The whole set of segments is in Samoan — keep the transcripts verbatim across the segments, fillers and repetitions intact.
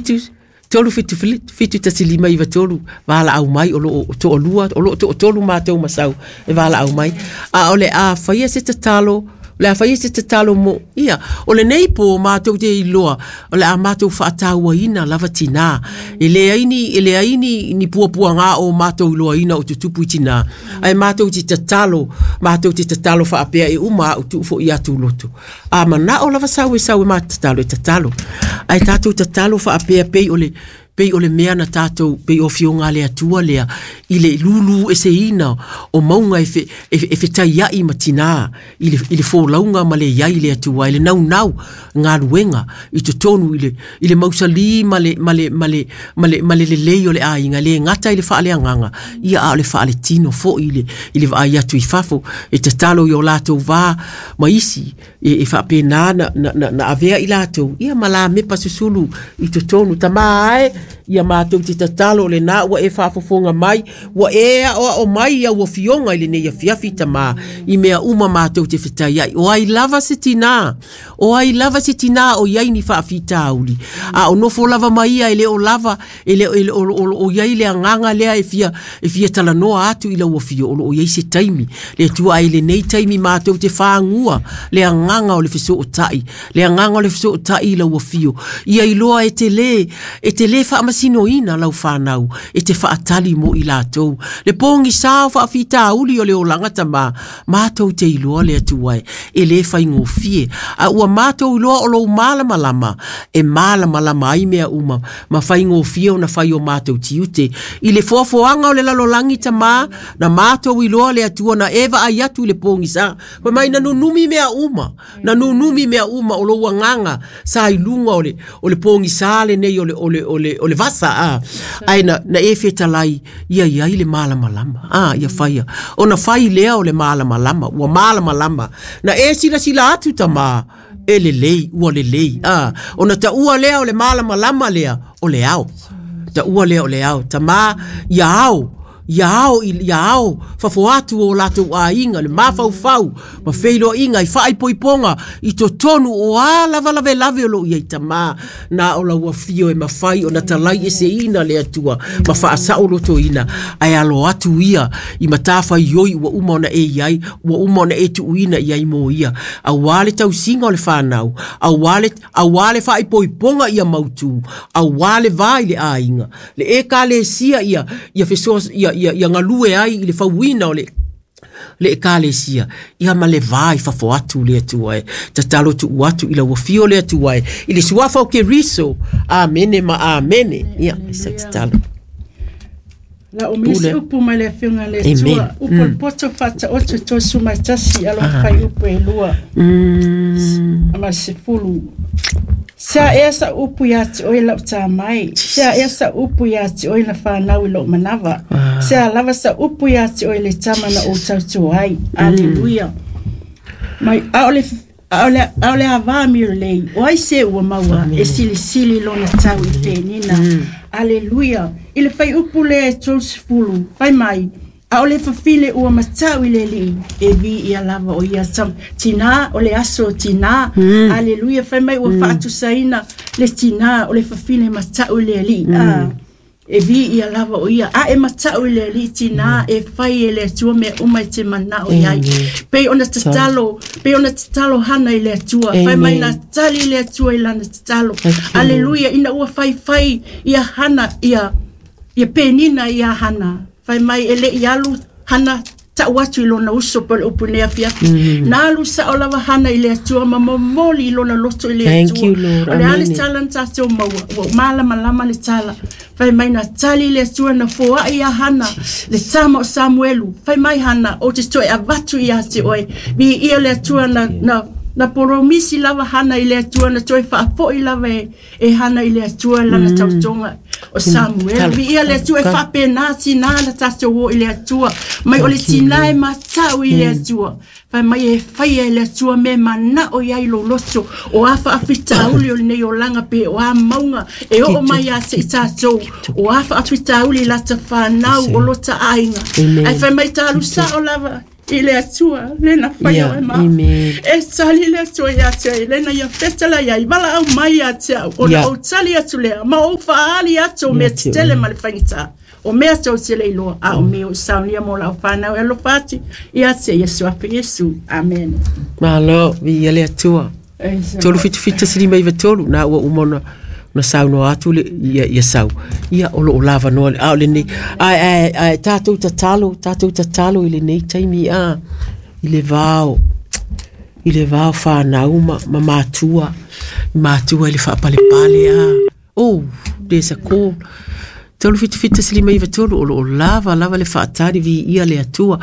Fitu tolu fitu fitu tasi lima iva tolu valaau mai o loo toalua o loo toatolu matou masau e valaau mai. A o le a faia se tatalo, o le a faia se tatalo mo ia o lenei po matou te iloa o le a matou faatauaina lava tinā e leai ni e leai ni ni puapuaga o matou iloaina o tutupu i tinā ae matou te tatalo matou te tatalo faapea e uma a'u tuu fo'i atu loto a manao lava sau e sau e matou tatalo e tatalo ae tatou tatalo faapea pei o le pei o le mea na tatou pei o afioga a le Atua lea i le lūlū eseina o mauga e fe, e, e fetaiai ma tinā i le, i le folauga ma le iai le Atua i le naunau galuega i totonu i le, i le mausalī ma le, ma le, ma le, ma le, ma le lelei o le aiga le gata i le faaleagaga ia a o le faaletino fo'i i le, i le vaai atu i fafo e tatalo i o latou va ma isi e, e faapena na, na, na, na avea i latou ia ma lamepa susulu i totonu tamā ae ia matou te tatalo o lenā ua e faafofoga mai ua e aoao mai au afioga i lenei afiafi tamā i mea uma matou te fetaiai o ai lava se tinā o ai lava se tinā o iai ni faafitauli a o nofo lava ma ia e le o lava e le o, o, o, o iai le agaga lea e fia e fia talanoa atu i lau afio o loo iai se taimi le Atua ai lenei taimi matou te fagua le agaga o le fesootai le agaga o le fesootai i lau afio ia iloa e te lē e te lē faamasinoina lau fanau e te faatali mo i latou le pogisā o faafitauli o le olaga tamā matou te iloa le Atua e e lē faigofie a ua matou iloa o lou malamalama e malamalama ai mea uma ma faigofie ona fai o matou tiute i le foafoaga o le lalolagi tamā na matou iloa le Atua na e vaai atu i le pogisā fai mai na nunumi mea uma na nunumi mea uma o lou agaga sa i luga o le o le pogisā lenei o le o le o le o le vasa a ae na na e fetalai ia iai le malamalama a ia faia ona fai lea o le malamalama ua malamalama na e silasila atu tamā e lelei ua lelei a ona taua lea o le malamalama lea o le ao taua lea o le ao tamā ia ao ia ao ia ao fafo atu o latou aiga le mafaufau ma feiloaiga i faaipoipoga i totonu o a lava lavelave o loo iai tamā na o lau afio e mafai ona talai eseina le Atua ma faasaolotoina ae alo atu ia i matafaioi ua uma ona e iai ua uma ona e tuuina iai mo ia auā le tausiga o le fanau auā le auā le faaipoipoga ia mautū auā le va i le aiga le ekalesia ia ia fesoa ia ia ia galue ai i le fauina o le le ekalesia ia ma le va i fafo atu le Atua e tatalo tuu atu i lau afio le Atua e i le suafa o Keriso amene ma amene ia se tatalo La o misi upu mai le afioga le Atua upu le poto faataoto tosu mai tasi alo fai upu e lua ma sefulu. Sea ea sa upu ia te oe lau tā mai. Sea ea sa upu ia te oe na whanau i lou manawa. Sea lava sa upu ia te oe le tama na o tautua ai. Aleluia. Mai aole aole aole ava mi lei. O ai se ua maua e silisili lona tau i penina. Aleluia. I le fai upu le tolu sefulu. Fai mai. Aole fafile ua matau i le alii e vi ia lava o ia tam tina o le aso tina. Mm. Aleluia. Fai mai ua mm. faatusaina le tina o le fafile matau i le alii. Mm. Ah, e vi ia lava o ia a e matau i le alii tina e fai e le Atua mea uma i te manao iai. Pei ona tatalo, pei ona tatalo Hana i le Atua. Fai mai na tali i le Atua i lana tatalo. Aleluia. Ina ua fai fai ia Hana ia ia penina ia Hana. Fai mai e le i alu Hana tau atu i lona uso po le upu nei afiafi. Mm. Na alu sao lava Hana i le Atua ma momoli i lona loto i le Atua. Thank you, Lord. O le ale tala na tātou maua, ua malamalama le tala. Fai mai na tali i le Atua na foai ia Hana, le tama o Samuelu. Fai mai Hana, o te toe avatu ia te oe. Vi ia le Atua na, na na poromisi lava Hana i le Atua na toe faafoi lava e, e Hana i le Atua lana mm. tautoga o Samuel. Vi ia le Atua e faapena tinā na tatou o i le Atua. Mai o le tinā e matau i le Atua. Fai mai e faia e le Atua me manao iai lou loto o a faafitauli o lenei olaga pe o a mauga e oo mai ia te i tatou o a faafitauli lata fanau o lota aiga. Ae fai mai talu sao lava I le Atua le na fai o e ma. E tali le Atua ia te ai le na ia fetala ia i wala au mai ia te au. O na o tali atu lea ma o whaali atu o mea tetele ma le faigata. O mea tau te le iloa a o mea o saunia mo lau whanau e alofa atu ia te Iesu afe Iesu. Amen. Malo, vi ia le Atua. Tolu fitu fitu tasi lima iva tolu na ua uma ona na saunoa atu le ia ia sau. Ia o loo lava noa a o lenei ai ai ai tātou tatalo, tātou tatalo i lenei taimi a i le vao i le vao whanau ma, ma matua matua i le whaapalepale a. Oh, there's a call. Tolu fitu fitu tasi lima iva tolu o loo lava lava le whaatari vi ia le Atua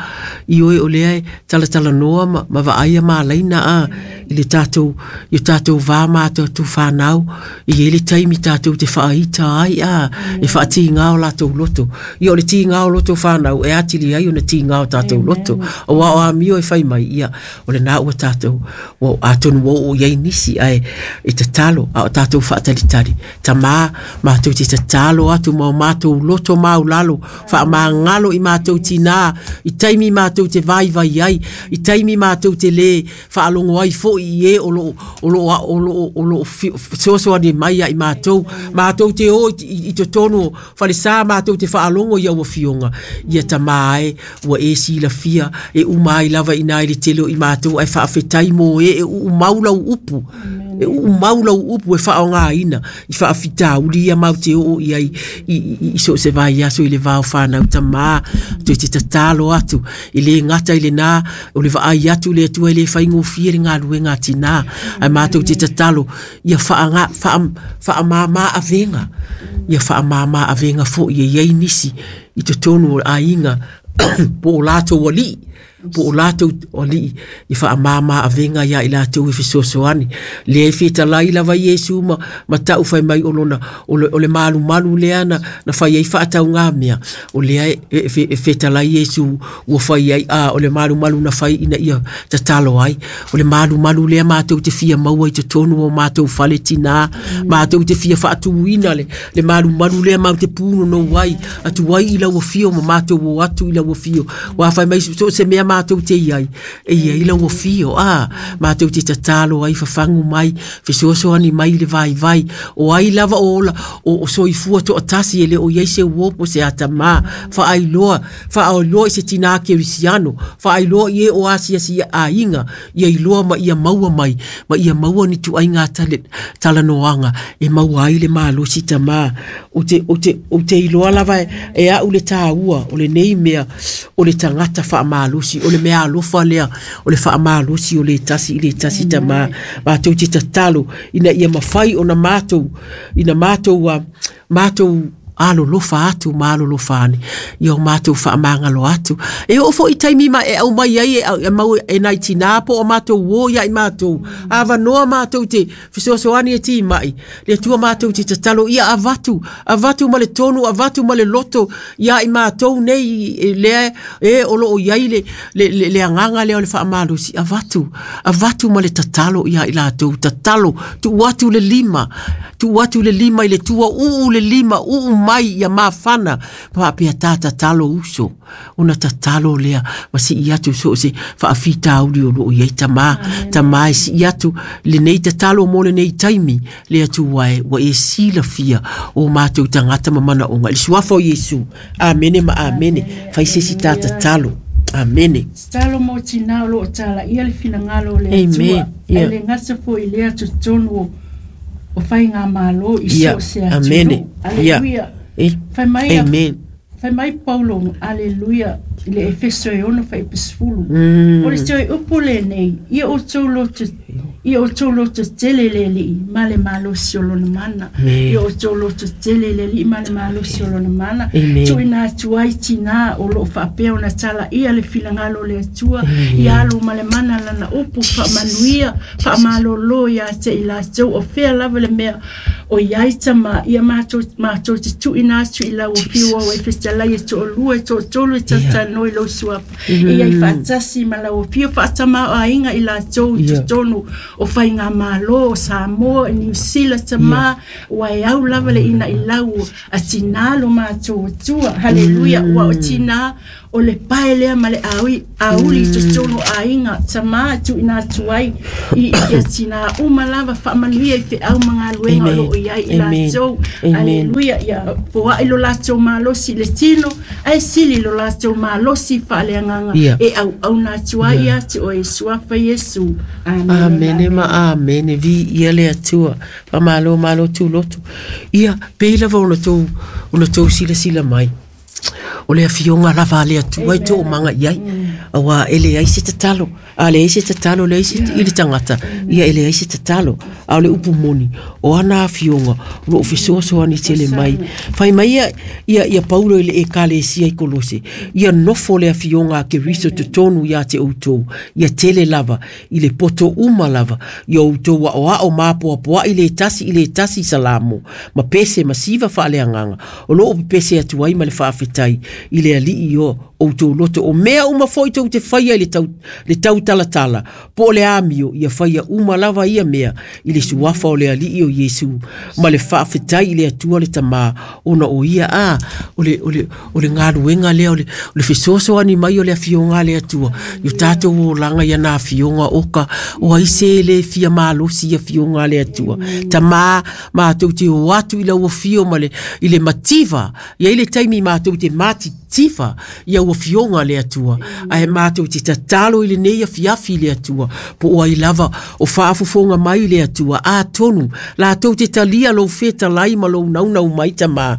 i oe o lea e talatala noa ma, ma vaaia maalaina a i le tātou i o tātou vā mātou atu whanau i e le taimi tātou te whaaita ai a e whaatīngao lātou loto i o le tīngao loto whanau e atili ai o na tīngao tātou loto o wao a mio e whai mai ia o le nā ua tātou o atonu o o iai nisi ai e tatalo a o tātou whaatalitali tamā mātou te tatalo atu ma o mātou loto mau lalo whaamangalo i mātou tinā i taimi mātou te vai vai ai i taimi mātou te le whaalongo ai fo i e o lo o lo o lo o lo sosoani mai ai mātou mātou te o i, i te tonu whalesa mātou te whaalongo i aua fionga ia tamā e ua e sila fia e umai lava ina i le tele i mātou ai whaafetai mō e e uumaula upu e uumaula upu e whaonga ina i whaafitauli ia mau te o i ai i, i, i so se vai aso i le vao whanau tamā te te tatalo atu i le ngata i le nā o le vaai atu le atua i le whaingofie le ngā luenga tinā ai mātou te tatalo ia whaanga, wha, whaamāmā avenga ia whaamāmā avenga fo i e iei nisi i te tonu o ainga po o lātou alii po o lātou alii i whaamāmā avenga ia i lātou i fesoasoani le e fetalai lava Iesu ma, ma tau whai mai o lona o le, o le malu malu lea na, na whai ai whaatau ngā mea o lea e, e, e fetalai Iesu ua whai ai a o le malu malu na whai ina ia tatalo ai o le malu malu lea mātou te fia maua i te tonu o mātou whale tinā mātou te fia whaatuina le, le malu malu lea mau te pūno no ai atu ai i lau fio ma mātou o atu i lau fio wa whai mai so se mea mātou te iai e ia i lau fio a mātou te tatalo ai whawhangu mai fesoasoani mai le vai vai o ai lava o ola o, o soifua to atasi e le o iai se uopo se atamā whaailoa whaailoa i se tinā kerisiano whaailoa i e o asiasi a inga ia iloa ma ia maua mai ma ia maua ni tu ai ngā tale, talanoanga e maua ai le malosi tamā o te, o te, o te iloa lava e, e au le tāua o le nei mea o le tangata whaamalosi o le mea alofa lea o le whaamalosi o le tasi i le tasi tamā mātou te tatalo ina ia mawhai o na mātou ina mātou uh, mātou alolofa atu ma alolofa ane ia o mātou whaamangalo atu e o fo i taimi ma e au mai ai e, e mau e nai tinā po o mātou o ia i mātou awa noa mātou te fesoasoani e ti mai le atua mātou te tatalo ia avatu avatu ma le tonu avatu ma le loto ia i mātou nei e, lea e o loo iai le, le, le, le anganga lea o le whaamalosi avatu avatu ma le tatalo ia i lātou tatalo tu atu le lima tu atu le lima i le tua uu le lima uu mai ia mafana papea tā tatalo uso ona tatalo lea ma si i atu so se whaafitauli o loo iai tamā tamā e si i atu le nei tatalo mo le nei taimi le atu wae wa e silafia o mātou tangata ma mana onga le suafa o Iesu amene ma amene whai se si tā tatalo amene Tatalo mo tinā o loo tala ia le finangalo o le atua e le ngasa fo i le atu tonu o whai ngā mālo i so se atu. Amene. Aleluia. Whai mai, Amen. Whai mai Paulo, aleluia, i le Efeso e ono whai pesfulu. Mm. O le te upu le nei, ia o tau loto, ia o tau loto tele le li, ma le malosi o lona mana. Ia o tau loto tele le li, ma le malosi o lona mana. Tuina atu ai tina o loo whaapea o na tala ia le filangalo le atua, ia alu ma le mana lana upu whaamanuia, whaamalolo ia te i lātou, o whea lava le mea o iai tama, ia mātou, mātou te tuina atu i lau o whiua o e fetalai e to'olua e to'atolu e tatanoi lau suafa. E iai whaatasi ma lau o whiua whaatama o ainga i lātou i totonu o whai ngā mālo o Samoa, New Zealand tama, ua e au lava le ina i lau a tinā lo mātou atua. Haleluia, ua o tinā O le pae lea ma le aui auli mm. totonu aiga tamā tuuina atu ai i ia tinā uma lava faamanuia i feau ma galuega o loo iai i latou. Aleluia. Ia foaʻi lo latou malosi le tino ae sili lo latou malosi faaleagaga e auauna atu ai ia te oe suafa Iesu. Amene. Amene ma amene. Vi ia le Atua. Faamalo malo tuloto. Ia pei lava ona tou ona tou silasila mai. O le afioga lava le Atua i toomaga i ai. Auā e leai se tatalo. A leai se tatalo leai se i le tagata. Ia e leai se tatalo. A o le upu moni. O ana afioga o loo fesoasoani tele mai. Fai mai ia, ia, ia Paulo i le ekalesia i Kolose. Ia nofo le afioga a Keriso totonu ia te outou. Ia tele lava i le poto uma lava. Ia outou aoao ma apoapoaʻi le tasi i le tasi salamo. Ma pese ma siva faaleagaga. O loo pepese atu ai ma le faafetai i le alii o outou loto. O mea uma foi tou te faia i le tau, le tau talatala. Po o le amio ia faia uma lava ia mea i le suafa o le alii o Iesu. Ma le faafetai i le Atua le Tamā ona o ia a o le, o le, o le galuega lea o le, o le fesoasoani mai o le afioga a le Atua. I o tatou olaga ia na afioga oka o ai se le fia malosi ia afioga a le Atua. Tamā matou te o atu i lau afio ma le, i le mativa. Ia i le taimi matou te mati tifa ia ua fioga le Atua. Ae matou te tatalo i lenei afiafi i le Atua. Po o ai lava o faafofoga mai i le Atua. Atonu latou te talia lou fetalai ma lou naunau mai tamā.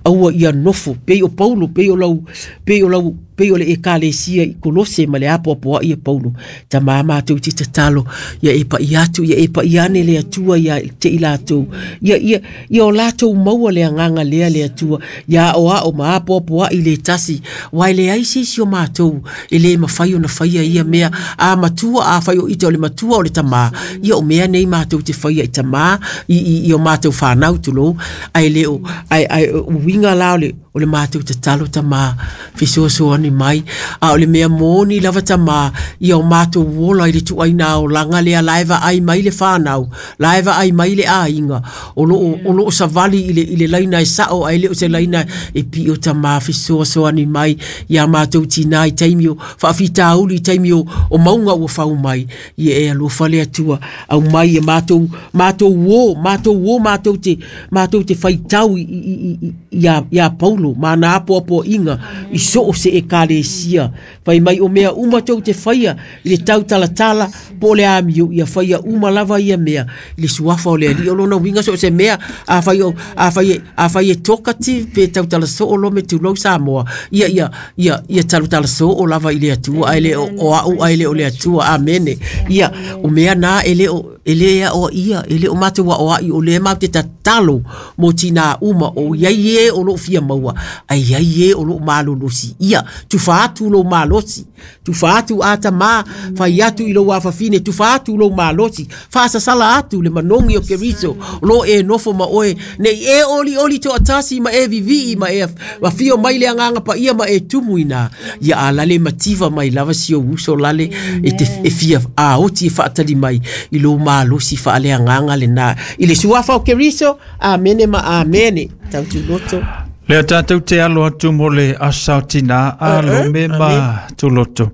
Aua ia nofo pei o Paulo pei o lau pei o lau pei o le ekalesia i Kolose ma le apoapoaʻi ia Paulo. Tamā matou te tatalo ia e paʻi atu ia e paʻi ane le Atua ia te i latou. Ia ia ia o latou maua le agaga lea le Atua. Ia aoao ma apoapoaʻi le tasi. Uae leai se isi o matou e lē mafai ona faia ia mea. A matua a fai o ita o le matua o le tamā. Ia o mea nei matou te faia i tamā i, i, i o matou whanau tulou. Ae le o ai ai uiga la o le o le matou tatalo tamā fesoasoani mai. A o le mea moni lava tamā ia o matou ola i le tuuaina olaga lea la e vaai mai le whanau, la e vaai mai le aiga. O loo o loo savali i le i le laina e sao ae le o se laina e pio tamā fesoasoani mai ia matou tinā i taimi o faafitauli i taimi o o mauga ua fau mai. Ia e alofa le Atua au mai e matou matou o matou o matou te matou te faitau i i i ia ia Paulo ma na apoapoaiga i soo se ekalesia. Fai mai o mea uma tou te faia i le tautalatala po o le amio ia faia uma lava ia mea i le suafa o le Alii. O lona uiga so o se mea a fai o a fai a fai e talkative pe tautala soo lo me tulou Samoa. Ia ia ia ia talutala soo lava i le Atua ae le o, o au ae le o le Atua. Amene. Ia o mea na e le o e le o ia e le o matou aoaʻi o le matou te tatalo mo tinā uma o iai e o loo fia maua ai ai e o loo malolosi. Ia tufa atu lou malosi, tufa atu a tamā, fai atu i lou afafine, tufa atu lou malosi, faasasala atu le manogi o Keriso o loo e nofo ma oe nei e oli oli toatasi ma e vivii ma e afio mai le agaga paia ma e tumu ina. Ia alale mativa mai lava si ou uso lale e te e fia aoti e faatali mai i lou malosi faaleagaga lena i le suafa o Keriso. Amene ma amene. Tautuloto. Lea tātou te alo atu mo le aso tinā a lome ma tuloto.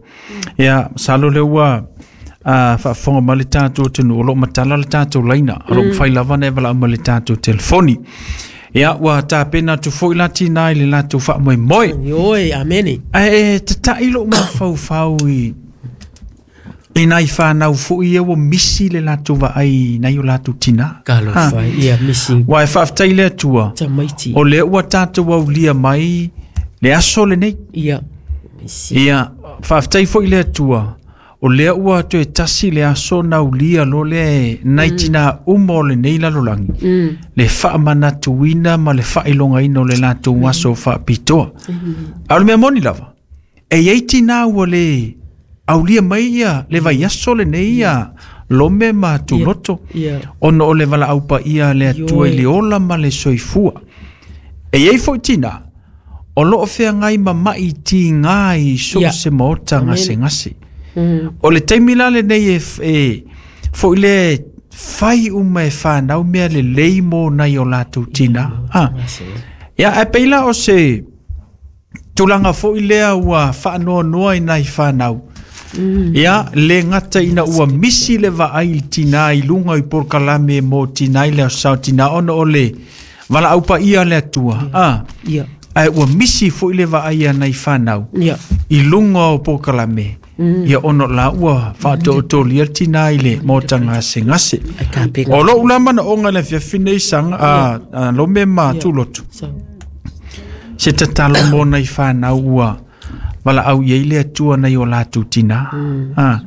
Ia, salo le ua a faafofoga mai le tatou atunuu o loo matala le tatou laina. O loo mafai lava ona e valaau mai le tatou telefoni. Ia, ua tapena atu foi la tinā i le latou faamoemoe. Ioe, amene. Ae e tataʻi lou mafaufau i i nai whanau foi ia ua misi le latou vaai nai o latou tinā. Talofa, ia misi. Ua e faafetai le Atua. Tamaiti. O lea ua tatou aulia mai le aso lenei. Ia. Misi. Ia, faafetai foi le Atua. O lea ua toe tasi le aso na aulia lo le nai tinā uma o lenei lalolagi. Mm. Le faamanatuina ma le faailogaina o le latou aso faapitoa. A o le mea moni lava. E iai tinā ua le aulia mai ia le vaiaso lenei ia lome ma tuloto. Ia. Ona o le valaau paia le Atua i le ola ma le soifua. E iai foi tinā o loo feagai ma mai tigā i so Ia. se maota Amene. gasegase. Mm. O le taimi la lenei e, e foi le fai uma e whanau mea le lei mo nai o latou tinā. Ha. Ia, e pei la o se Tulaga foʻi lea ua faanoanoa i nai fanau. Ia le gata ina ua misi le vaai i tinā i luga i polokalame mo tinā i le aso tinā ona o le valaau paia le Atua. A Ia. Ae ua misi foʻi le vaai a nai fanau Ia. i luga o polokalame. Ia ona la ua faatoatolia le tinā i le maota gasegase. Ai kapega. O lou la manaoga le afiafi nei saga a, a lome ma tulotu. So. Se tatalo mo nai fanau ua valaau i ai le Atua nai o latou tinā. Ah,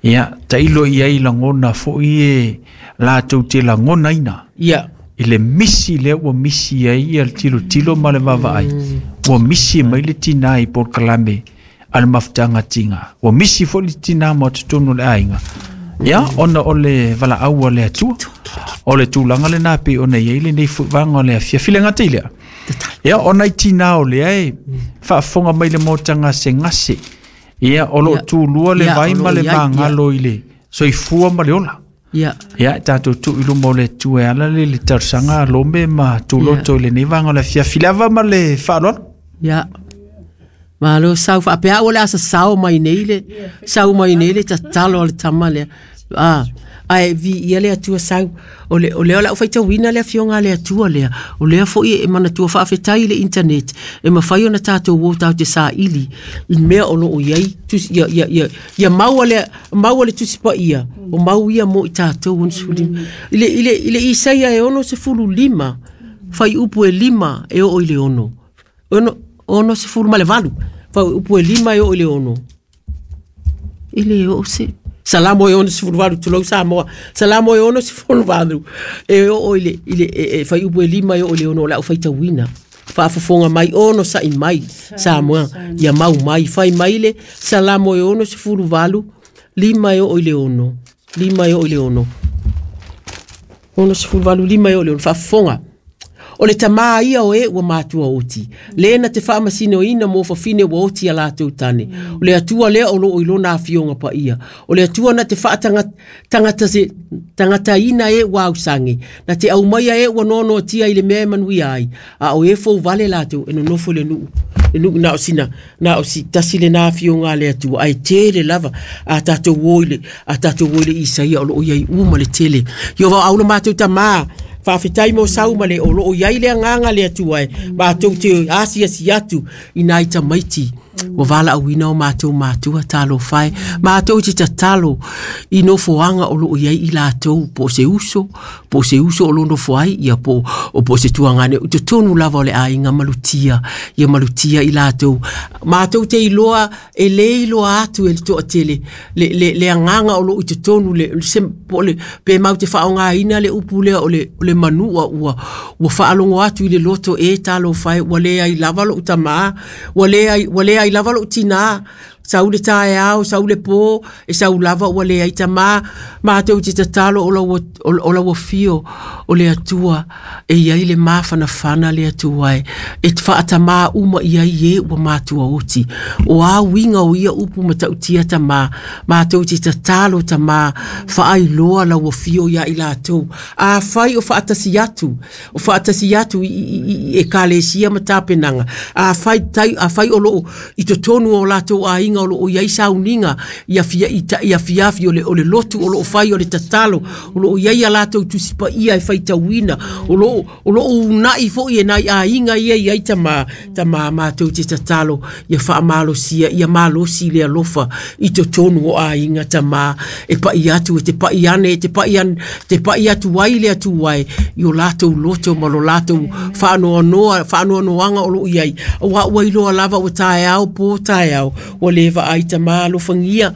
ia, tailo i ai lagona foʻi e latou te lagonaina. Ia. I le misi lea ua misi ai ia le tilotilo ma le vaavaai. Ua misi mai le tinā i polokalame a le mafutaga tiga. Ua misi foʻi le tinā ma totonu o le aiga. Ia, ona o le valaau a le Atua. O le tulaga lenā pei ona i ai lenei foʻi o le afiafi le gata i lea. Ia, ona i tinā o lea e faafofoga mai le maota gasegase. Ia, o loo Ia. tulua le Ia, vai o ma loo le i ai, ia. magalo i le soifua ma le ola. Ia. Ia, e tatou tuu i luma o le Atua e ala le le talosaga a Lome ma Tuloto i lenei vaega o le afiafi lava ma le faaaloalo. Ia. Malo sau faapea ua le asa sao mai nei le sau mai nei le tatalo a le tama lea. Ah, ae viia le Atua sau. O le o lea o le au faitauina le afioga a le Atua lea. O lea foʻi e manatua faafetai i le internet e mafai ona tatou o tatou te saili i mea o loo i ai tusi ia ia ia ia maua le maua le tusi paia o mau ia mo i tatou ono sefulu lima. I le i le i le Isaia e ono sefulu lima fai upu e lima e oo i le ono. Ono ono sefulu ma le valu. Fai upu e lima e oo i le ono. I le oo se Salamo e ono sefulu valu tulou Samoa. Salamo e ono sefulu valu. E oo i le i le e, e fai upu e lima e oo i le ono o le au faitauina. Faafofoga mai ono saʻi mai Samoa ia mau mai fai mai le Salamo e ono sefulu valu lima e oo i le ono. Lima e oo i le ono. Ono sefulu valu lima e oo i le ono faafofoga. O le tamā ia o e ua matua oti. Lena te faamasinoina mo fafine ua oti a latou tane. O le Atua lea o loo i lona afioga paia. O le Atua na te faatagata se tagataina e ua ausage. Na te aumaia e ua noanoatia i le mea e manuia ai. A o e fouvale latou e nonofo i le nuu. Le nuu na o sina, na o si tasi lena afioga a le Atua. Ae tele lava a tatou o i le, a tatou o i le Isaia o loo i ai uma le tele. Ia vao aula matou tamā. Faafetai mo sau ma le o loo i ai le agaga le Atua e matou te asiasi atu i nai tamaiti. Ua valaauina o matou matua talofa e. Matou te tatalo i nofoaga o loo i ai i latou po o se uso, po o se uso o lo nofo ai, ia po o po o se tuagane. I totonu lava o le aiga malutia, ia malutia i latou. Matou te iloa e lē iloa atu e le toatele le, le, le agaga o loo i totonu le, le, se, po o le, pe mau te faaaogaina le upu lea o le, o le manua ua, ua faalogo atu i le loto e talofa e ua leai lava lou tamā, ua leai, ua leai lava lou tinā. Sau le taeao, sau le pō, e sau lava ua leai tamā. Matou te tatalo o lau, o, o lau afio o le Atua e iai le mafanafana le Atua e. E faatamā uma i ai e ua matua oti. O a uiga o ia upu matautia tamā. Matou te tatalo tamā, faailoa lau afio ia i latou. Afai o faatasi atu, o faatasi atu i, i, i, i ekalesia ma tapenaga. Afai, tai, afai o loo i totonu o latou aiga o loo i ai sauniga ia fia, i ta, ia fiafi o le, o le lotu o loo fai o le tatalo o loo i ai a latou tusi paia e faitauina o loo, o loo uunai foʻi e nai aiga ia i ai tamā tamā matou te tatalo ia faamalosia ia malosi le alofa i totonu o aiga tamā e paʻi atu e te paʻi ane e te paʻi ane te paʻi atu ai le Atua e i o latou loto ma lo latou faanoanoa faanoanoaga o loo i ai auā ua iloa lava ua taeao pō taeao ua lē vaai tamā alofagia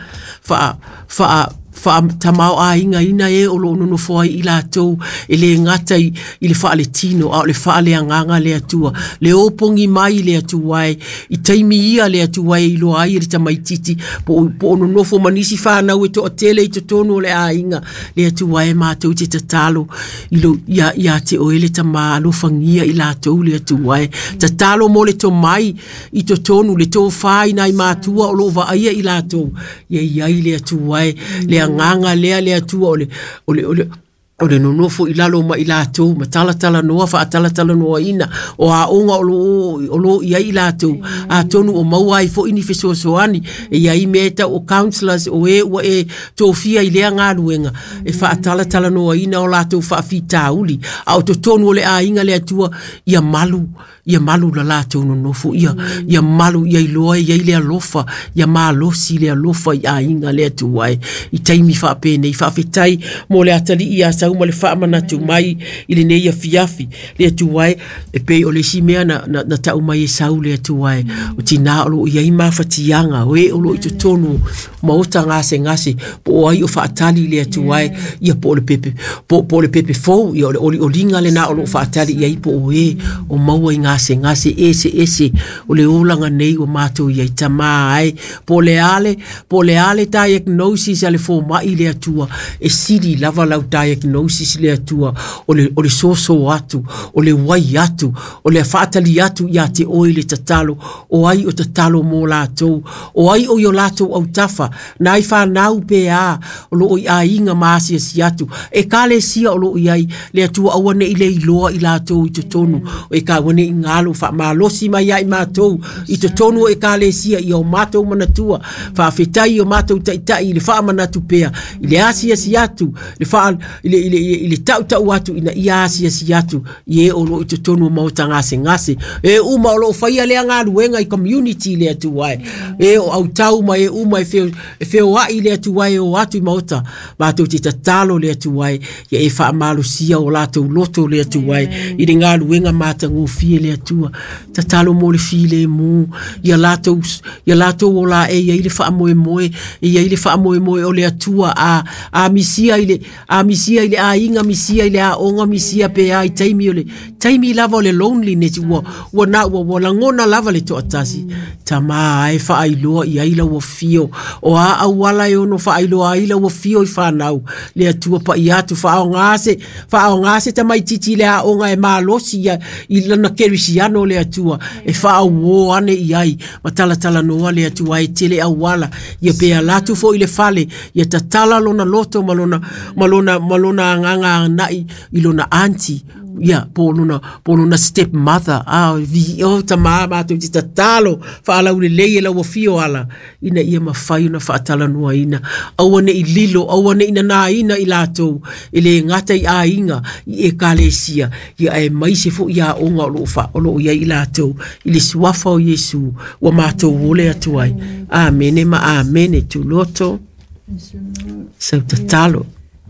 faa faa faatamao aiga ina e o loo nonofo ai i latou e lē gata i, i le faaletino a o le faaleagaga le Atua le opogi mai le Atua e i taimi ia le Atua e iloa ai e le tamaititi po, po o nonofo ma nisi fanau e toatele i totonu o le aiga le Atua e matou te tatalo i lo, ia, ia te oe le tamā alofagia i latou le Atua e tatalo mo le tomai i totonu le tofā i nai matua o loo vaaia i latou ia iai le Atua e le agaga lea le Atua o le o le o le O le nonofo i lalo ma i latou ma talatalanoa faatalatalanoaina o aoga o loo o loo i ai i latou atonu o maua ai fo'i ni fesoasoani e iai mea e tau o counselors o e ua e tofia i lea galuega e faatalatalanoaina o latou faafitauli a o totonu o le aiga le Atua ia malu ia malu la latou nonofo ia ia malu ia iloa ia i le alofa ia malosi le alofa i aiga le Atua e i taimi faapenei faafetai mo le atalii ia sau ma le faamanatu mai i lenei afiafi le Atua e e pei o le isi mea na, na, na tau mai e sau le Atua e o tinā o loo i ai mafatiaga o e o loo i totonu maota gasegase po o ai o faatali le Atua e ia po o le pepe po, po o le pepe fou ia o le olioliga lena o loo faatali i ai po o e o maua i gasegase ese ese o le olaga nei ua matou i ai tamā ai po o le ale po o le ale diagnosis a le foma'i le Atua e sili lava lau diagnosis le Atua o le, o le soso atu o le uai atu o le faatali atu ia te oe le tatalo o ai o tatalo mo latou o ai o i o latou autafa nai fanau pe a o loo i aiga ma asiasi atu e kalesia o loo i ai le Atua aua ne'i le iloa i latou i totonu o e ka aua ne'i galo faamalosi mai ai matou i totonu o ekalesia ia o matou manatua faafetai o matou ta'ita'i i le faamanatu pea i le asiasi atu le faa i le, i le, i le ta'uta'u atu ina ia asiasi atu i e o loo i totonu o maota gasegase e uma o loo faia lea galuega i community le Atua e e o autau ma e uma e feo e feoa'i le Atua e o atu i maota matou te tatalo le Atua e ia e faamalosia o latou loto le Atua e i le galuega matagofie le Atua tatalo mo le filemu ia latou ia latou ola e ia i le faamoemoe e ia i le faamoemoe o le Atua a a misia i le a misia i le aiga misia i le aoga misia pe a i taimi o le taimi lava o le loneliness ua ua na ua ua lagona lava le toatasi tamā e faailoa i ai lau afio o a auala e ono faailoa ai lau afio i fanau le Atua paia atu faaogā se faaogā se tamaititi le aoga e malosi ia i lana kerisiano le Atua e faauō ane i ai ma talatalanoa le Atua e tele auala ia pe ala atu fo'i le fale ia tatala lona loto ma lona ma lona ma lona agaga aga'i i lona aunty ia po lona po lona step mother a vi o tamā matou te tatalo faalaulelei e lau afio ala ina ia mafai ona faatalanoaina aua ne'i lilo aua ne'i nanāina i latou e lē gata i aiga i ekalesia ia ae maise fo'i aoga o loo fa o loo i ai i latou i le suafa o Iesu ua matou ole atu ai. Amene ma amene tuloto sau tatalo.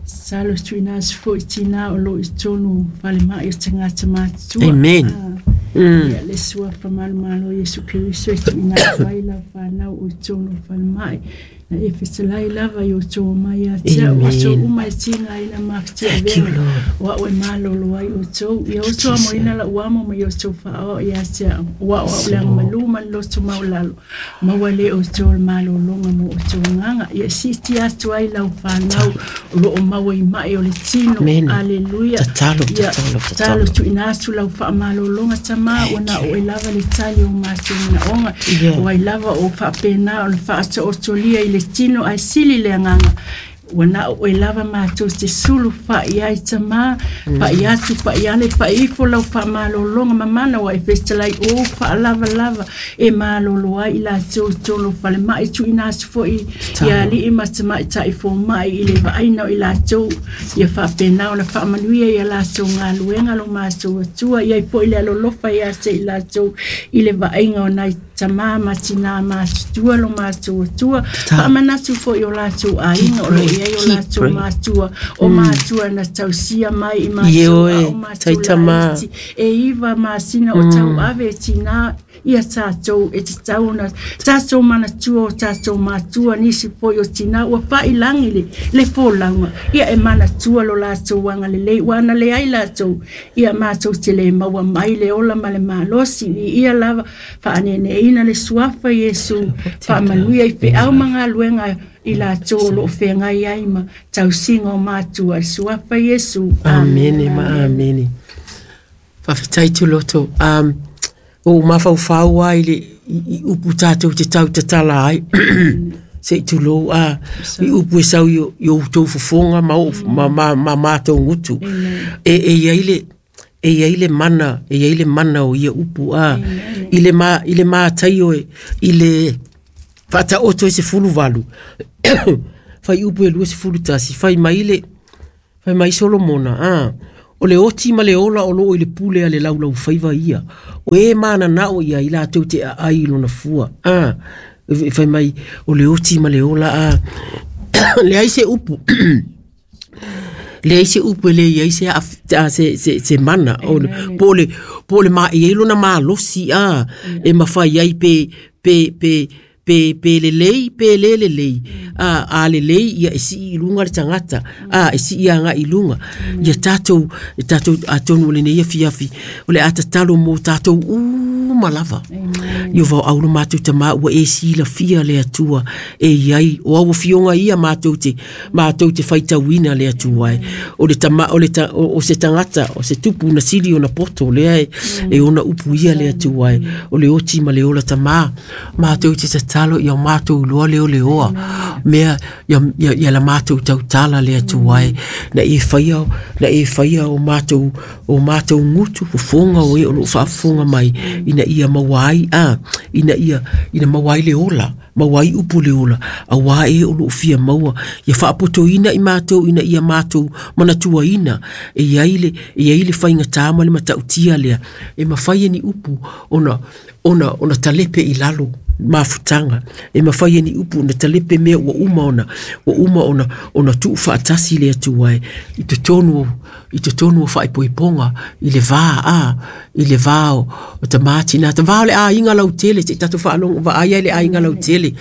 Salo tuina atu fo'i tinā o loo i tonu falema'i o tagata matutua. Amen. Mm. Ia le suafa malomalo Iesu Keriso e tuuina atu ai lau fanau o i tonu falemai na e fetalai lava i o outou mai ia te a'u aso uma e tigaina Thank you, mafatiavega Lord. o a'u e malolo ai outou ia outou amoina la'u amo ma ia outou fa'aoa ia te a'u o a'u a'u le agamalū ma le loto maulalo maua lē outou le malologa mo outou agaga ia si'itia atu ai lau fanau o loo maua i ma'i o le tino. Amen. Aleluia. Tatalo, Ia tatalo, talo tatalo. tuuina atu lau faamalologa tamā ua na oe lava le tali o matou manaoga Yeah. o ai lava o faapena ona faataotolia i le tino ae sili le agaga ua na oe lava matou te sulu fa'i ai tamā pa'i atu pa'i ale pa'i ifo lau faamalologa mamana ua e fetalai ou faalavalava e malolo ai i latou i tolu falema'i tuuina atu fo'i ia ali'i ma tamaita'i foma'i i le vaaina o i latou ia faapena ona faamanuia ia latou galuega lo matou Atua ia ai fo'i le alolofa ia te i latou i le vaaiga o nai tamā ma tinā matutua lo matou Atua faamanatu fo'i o latou aiga o loo i ai o Keep latou praying. matua o matua na tausia mai i matou Ioe, a o matou taitamā. laiti e iva masina o tauave e tinā ia tatou e tatau ona tatou manatua o tatou matua nisi foi o tinā ua fa'ilagi le le folauga ia e manatua lo latou agalelei ua ana leai latou ia matou te lē maua mai le ola ma le malosi i ia lava fa'anene'ina le suafa Iesu faamanuia i fe'au ma galuega i latou o lo'o feagai ai ma tausiga o matua le suafa Iesu. Amene ma amene. Faafetai tuloto. Um, o mafaufau ai le i, i upu tātou te tau tatala ai. Se i tulou a i upu e sau i o tou fofoga ma o ma ma ma matou gutu. E e iai le e iai le mana e iai le mana o ia upu a i le ma i le mataio e i le faataoto e sefulu valu fai upu e lua sefulu tasi fai mai le fai mai Solomona a o le oti ma le ola o loo i le pule a le laulau faiva ia o e mananao ia i latou te aai i lona fua a fai mai o le oti ma le ola a leai se upu leai se upu e leai se a se se se mana o po le po le ma e lona malosi a e mafai ai pe pe pe pe pe le lei pe le le lei a a le lei ia e si i lunga le tagata a e si ia nga i lunga ia tatou e tatou atonu le nei afiafi o le atatalo mo tatou uma lava ia vau au le matou tama ua e silafia le Atua e iai o au fioga ia matou te matou te faitauina le Atua e o le tama o le ta, o, o se tagata o se tupu na sili ona poto lea e, e ona upu ia le Atua e o le oti ma le ola tama matou te tatalo ia matou loa le ole oa mea ia ia, ia la matou tautala le Atua e na e faia na e faia o matou o matou ngutu fofoga o e o loo faafofoga mai ina ia maua ai a ina ia ina maua ai le ola maua ai upu le ola auā e o loo fia maua ia faapotoina i matou ina ia matou manatuaina e iai le e iai le faigatā ma le matautia lea e mafai e ni upu ona ona ona talepe i lalo mafutaga e mafai e ni upu ona talepe mea ua uma ona ua uma ona ona tuufaatasi le Atua e i totonu i totonu o faaipoipoga i le va a i le va o, o tamatina ta va o le aiga lautele te tatou faalogo vaai ai le aiga lautele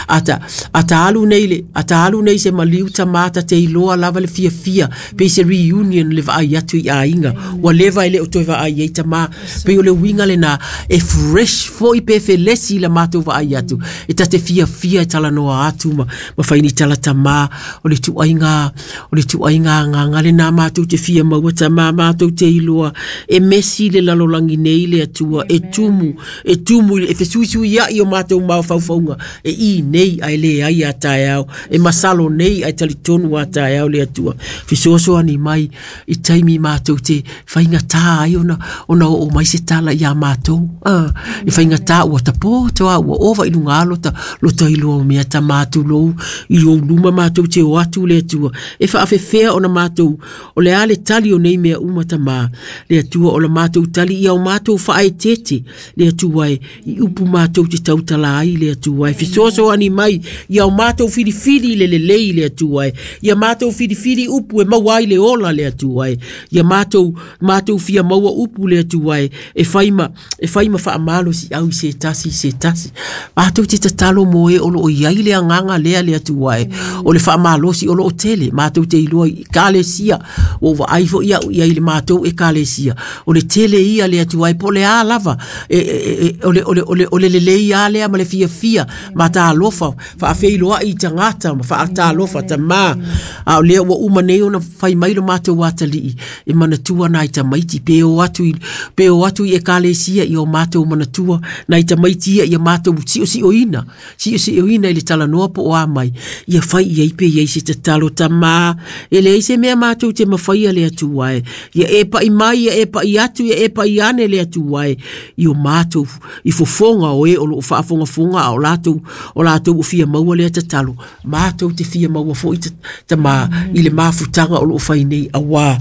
ata ata alu nei le ata alu nei se maliu tamata te iloa lava le fiafia pe se reunion le vaai atu i aiga ua leva e le o toe vaai ai tama pe o le uiga lena e fresh foi pe felesi la matou vaai atu e tate fiafia e talanoa atu ma ma fai ni tala tama o le tuaiga o le tuaiga agaga lena matou te fia maua tama matou te iloa e mesi le lalolagi nei le Atua e tumu e tumu e fesuisuiai o matou mafaufauga e i nei ae leai a taeao e masalo nei ae talitonu a taeao le Atua fesoasoani mai i taimi matou te faigatā ai ona ona oo mai se tala iā matou a e faigatā ua tapoto a ua ova i luga alo ta lota iloa o mea tama tulou i ou luma matou te o atu le Atua e faafefea ona matou o le a le tali o nei mea uma tama le Atua o la matou tali ia o matou faaetete le Atua e i upu matou te tautala ai le Atua e fesoasoani mai ia o matou filifili le lelei le Atua e ia matou filifili upu e maua ai le ola le Atua e ia matou matou fia maua upu le Atua e e fai ma e fai ma faamalosi au i se tasi i se tasi matou te tatalo mo e o loo iai le agaga lea le Atua e o le faamalosi o loo tele matou te iloa i ekalesia ua vaai foi au iai le matou ekalesia o le tele ia le Atua e po o le a lava e, e, e, o le o le o le o le lelei a lea ma le fiafia matalofa faafeiloai i tagata ma faatalofa tama a o lea ua uma nei ona fai mai lo matou atalii e manatua nai tamaiti pe o atu i pe o atu i ekalesia i o matou manatua nai tamaiti ia ia matou siosiioina siosiioina i le talanoa po o a mai ia fai iai pe iai se tatalo tama e leai se mea matou te mafaia le Atua e ia e pai mai ia e pai atu ia e pai ane le Atua e i o matou i fofoga o e o loo faafogafoga a o latou o latou o fia maua lea tatalo matou te fia maua foi tama i le mafutaga o loo fai nei auā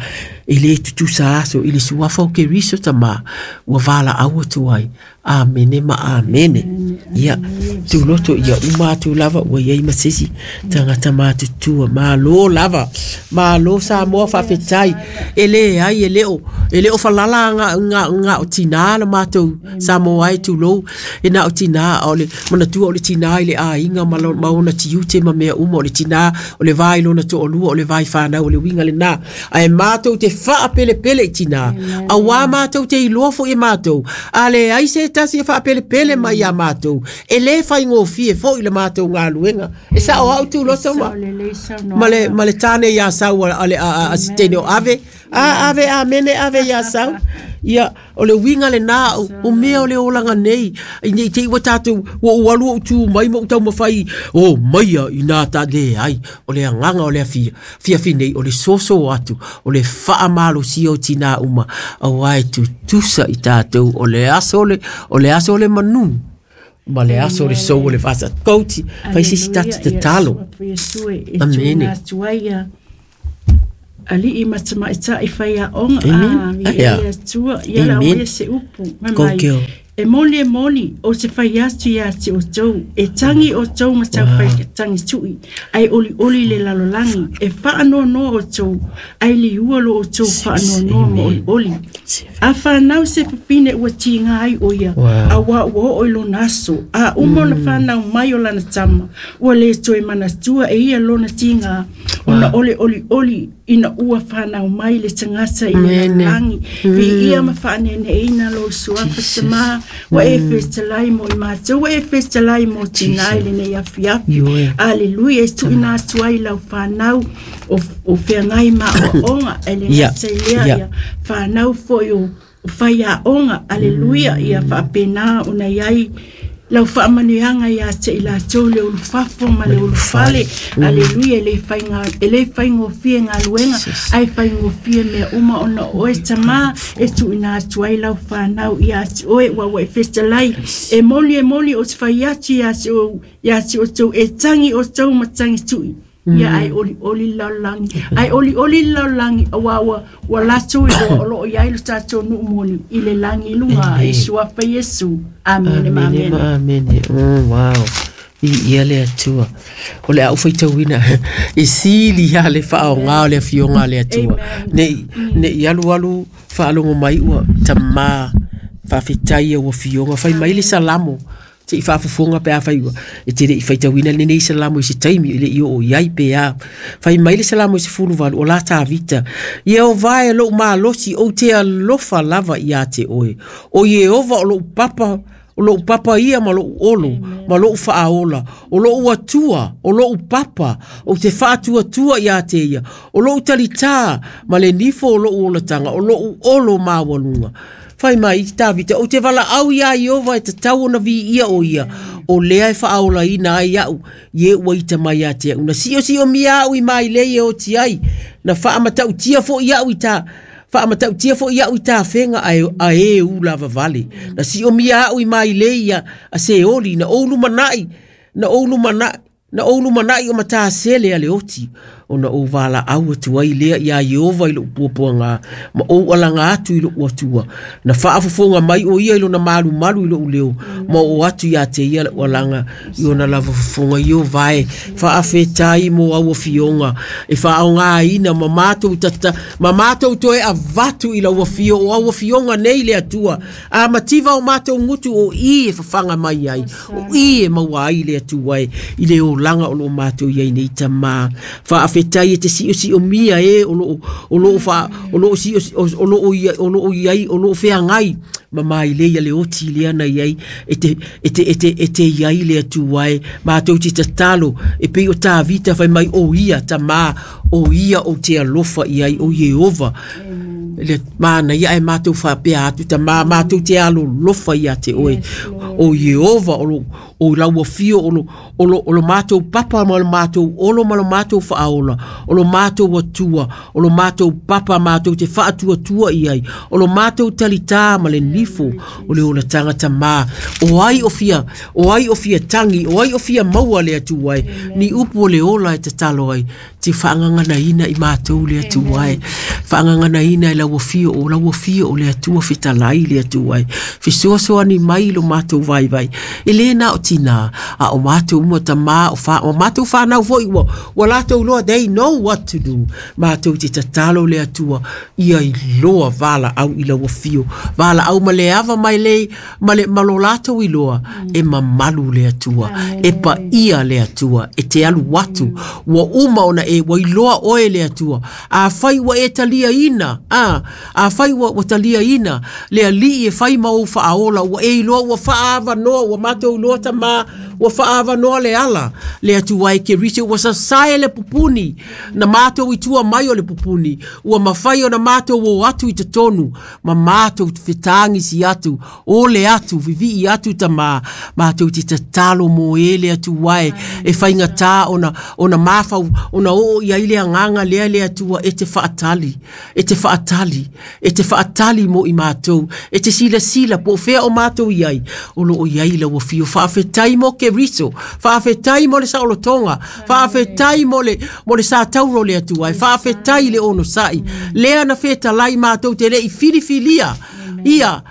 e lē tutusa aso i le suafa o Keriso tama ua valaau atu ai. Amene ma amene. Ia tuloto ia uma atu lava ua iai ma sesi tagata matutua malo lava malo Samoa faafetai e leai e le o e le o falala nga nga nga o tinā la matou Samoa ai tulou e na o tinā o le manatua o le tinā i le aiga ma ma ona tiute ma mea uma o le tinā o le vai lona toalua o le vai whanau o le winga le nā ae matou te faapelepele i tinā auā matou te iloa foi e matou a leai se tasi e faapelepele mai iā matou mātou e le whaingofie fo i le mātou ngā luenga e sa o au tū loto ma ma le, ma le tāne ia sau a, a, a, a sitene o ave a ave a mene ave ia sau ia o le winga le nā o mea o le olanga nei i nei te iwa tātou o ualu o tū mai mo tau mawhai o maia i nā tā le ai o le anganga o le fia fia fi nei o le soso atu o le whaamalo si o tina uma au ai tutusa i tātou o le aso le o le aso le manu ma le aso le sou le fasa kouti fai sisi tatu te talo amene Ali i matamaita i whai a onga a i atua i ala o se upu mai e moli e moli o te whai atu ia te o tau e tangi o tau ma tau whai tangi tui ai oli oli le lalolangi e whaanoa noa o tau ai li ualo o tau whaanoa noa ma oli oli a whanau se pipine ua tinga ai o ia a wā ua o i lona aso a uma ona whanau mai o lana tama ua le toe manatua e ia lona tinga ona ole oli oli ina ua whanau mai le tangata i le langi vi ia ma whanene ina lo suafa sama wa e festalai mo i mātou wa e festalai mo tinai le nei afi afi aleluia e tuina atu ai lau whanau o, o whangai ma o onga e le ngata i lea ia whanau foi o whai a onga aleluia ia whaapena o nei ai lau whaamanuianga ia te i lātou le ulufafo ma le ulufale aleluia e le whainga e le whaingofie ngā luenga ai whaingofie mea uma ona oe tamā e tuina atu ai lau whanau ia ati oe ua ua e festalai e moli e moli o te whai atu ia te o ia te o tau e tangi o tau ma tangi tui ia ai oli oli laulangi ai oli oli laulangi awa ua ua lātou i o lo ia i lo tātou nuumoni i le langi lunga i suafa Yesu amene ma amene amene oh wow i ia le atua o le au faitauina e sili ia le whaonga o le fionga le atua nei nei alu alu whaalongo mai ua tamā whawhitai ua fionga whai mai le salamo te i whaafofonga pe a whai ua e te re i whaitauina le nei salamo i se taimi i le i o iai pe a whai mai le salamo i se fuluvalu o la tāvita ia o vae lou malosi o te alofa lava ia te oe o Iehova o lou papa o lou papa ia ma lou olo ma lou whaaola o lou atua o lou papa o te whaatuatua ia te ia o lou talitā ma le nifo o lou olatanga o lou olo mawalunga whai mai i Tāvita o te wala au ia Iova e te tau ona vi ia o ia o lea e whaaola ina ai au ye ua ita mai a te au na sio sio mia au i mai le e o ti ai na whaamatau tia fo i au i tā whaamatau tia fo i au i tā whenga a, a e u lava vale na sio mia au i mai le ia a se oli na oulu manai na oulu manai na oulu manai o mataa sele a le oti o na o wala au atu ai lea ia Iova i lou puapuanga ma ou alanga atu i lou atua na whaafofonga mai o ia i lona malu malu i lou leo ma o atu ia te ia lou alanga i ona lava fofonga Iova e whaafetai mo au fionga e whaonga ina ma mātou tata ma mātou toe avatu i lau afio o au fionga nei le atua a mativa o mātou ngutu o i e whawhanga mai ai o i e maua ai le atua e i le olanga o lo mātou iai nei tamā whaafetai e te sio sio mia e o lo o lo wha o lo sio o lo o ia o lo iai o lo wheangai ma mai le ia le oti le ana iai e te e te e te e te iai le atua e mātou te tatalo e pei o Tāvita whai mai o ia tamā o ia o te alofa iai o Iehova le mana ia e mātou whapea atu tamā mātou te alo lofa ia te oe o Iehova o lo o lau afio o lo o lo o lo mātou papa ma lo mātou olo ma lo mātou whaaola o lo mātou atua o lo mātou papa mātou te whaatuatua iai o lo mātou talitā ma le nifo o le ola tangata mā o ai o fia o ai o fia tangi o ai o fia maua le atua ai ni upu o le ola e tatalo ai te whaangangana ina i mātou le atua ai whaangangana ina i lau afio o lau afio o le atua fitalai le atua ai fisoasoani mai lo mātou vai vai e le na o tina a o mātou mua tamā o wha o mātou whanau foi ua ua lātou loa they know what to do mātou te tatalo le atua ia i loa wala au i lau afio wala au ma le ava mai le ma le malo lātou i loa e mamalu le atua e pa ia le atua e te alu watu ua uma ona e ua iloa oe le atua a whai ua e talia ina a a whai ua, ua talia ina le alii e whai mau whaaola ua e iloa ua wha Whaavanoa ua matou iloa tamā ua faaavanoa le ala le Atua e Keriso ua sasae le pupuni na matou i tua mai o le pupuni ua mafai ona matou o atu i totonu ma matou fetagisi atu o le atu vivii atu tamā matou te tatalo mo e le Atua e e faigatā ona ona mafau ona oo i ai le agaga lea le Atua e te faatali e te faatali e te faatali mo i matou e te silasila po o fea o matou i ai o loo i ai lau afio. Faafetai mo Keriso, faafetai mo le saolotoga, faafetai mo le mo le satauro le Atua, faafetai le onosai lea na fetalai matou te lei filifilia ia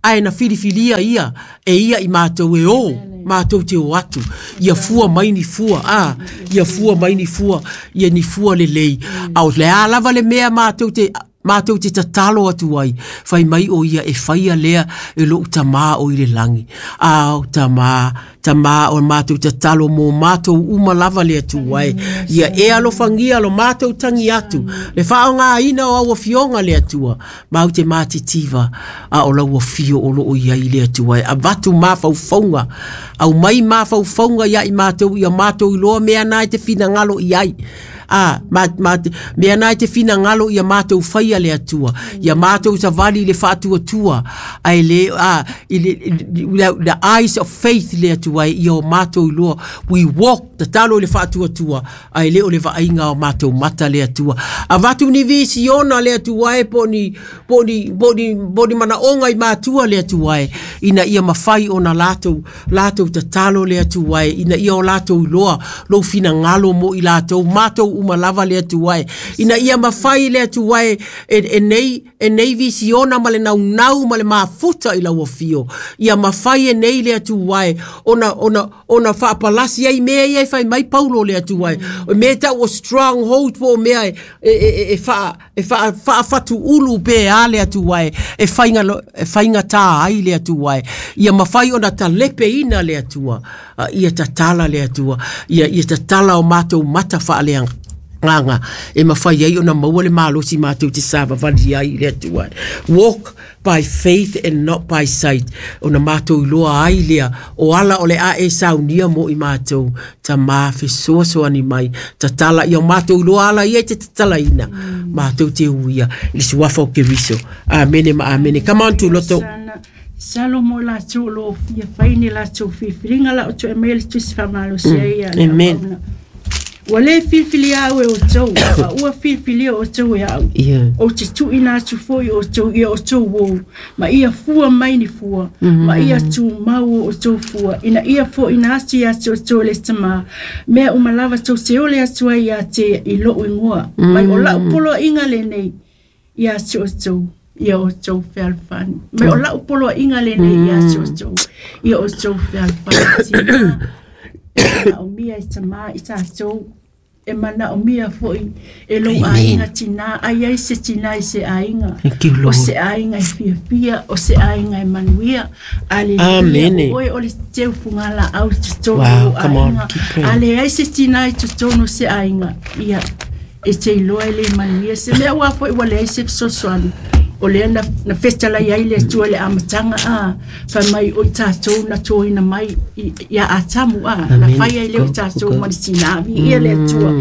ae na filifilia ia e ia i matou e o matou te o atu ia fua mai ni fua a ia fua mai ni fua ia ni fua lelei a o le a lava le mea matou te matou te tatalo atu ai fai mai o ia e faia lea e lou tamā o i le lagi. Ao tamā tamā o matou tatalo mo matou uma lava le Atua e ia e alofagia lo matou tagi atu le faaaogāina o au afioga le Atua mau te matitiva a o lau afio o loo i ai le Atua e avatu mafaufauga au mai mafaufauga ia i matou ia matou iloa mea na e te finagalo i ai a ma ma mea na e te finagalo ia matou faia le Atua ia matou savali le faatuatua ai le a i le the eyes of faith le Atua ia o matou iloa we walk tatalo i le faatuatua ai le o le vaaiga o matou mata le Atua avatu ni visiona le Atua e po ni po ni po ni po ni manaoga i matua le Atua e ina ia mafai ona latou latou tatalo le Atua e ina ia o latou iloa lou finagalo mo i latou matou uma lava le Atua e ina ia mafai le Atua e e nei e nei visiona ma le naunau ma le mafuta i lau afio ia mafai e nei le Atua e ona ona ona faapalasi ai mea ia e fai mai Paulo le Atua e o mea tau o stronghold po o mea e e e e faa e faa faafatuulu pe a le Atua e e faiga e faigatā ai le Atua e ia mafai ona talepeina le Atua ia tatala le Atua ia ia tatala o matou mata faaleagaga e mafai ai ona maua le malosi matou te savavali ai le Atua. Walk by faith and not by sight ona matou iloa ai lea o ala o le a e saunia mo i matou tamā fesoasoani mai tatala ia matou iloa ala ia e te tatalaina matou te uia i le suafa o Keriso. Amene ma amene. Come on Tuloto. Salomo la latou lo fia fai ni latou filifiliga la o toe mai le tusi faamalosi ai ia le Amen. Ua lē filifilia au e outou a ua filifilia outou e a'u Yeah. ou te tu'uina atu fo'i outou ia outou ou ma ia fua mai ni fua ma ia tumau o outou fua ina ia fo'ina atu iā te outou e le tamā mea uma lava tou te ole atu ai iā te i lo'u igoa mai o la'u poloa'iga lenei iā te outou ia outou fealofani mai o la'u poloa'iga lenei iā te outou ia outou fealofani tinā e manaomia e tamā i tatou e manaomia fo'i e lou aiga tinā ai ai se tinā i se aiga Thank you, o Lord. se aiga e fiafia o se aiga e manuia. Aleluia. Amene. O oe o le teufugalaau i totonu Wow, o come on, aiga keep praying. a leai se tinā i totonu o se aiga ia e te iloa e le manuia se mea ua fo'i ua leai se fesoasoani o lea na, na fetalai ai le Atua i le amataga a fai mai o i tatou na toina mai i- ia Atamu a na Amen. fai ai lea o i Go, tatou go. ma le tinā viia le Atua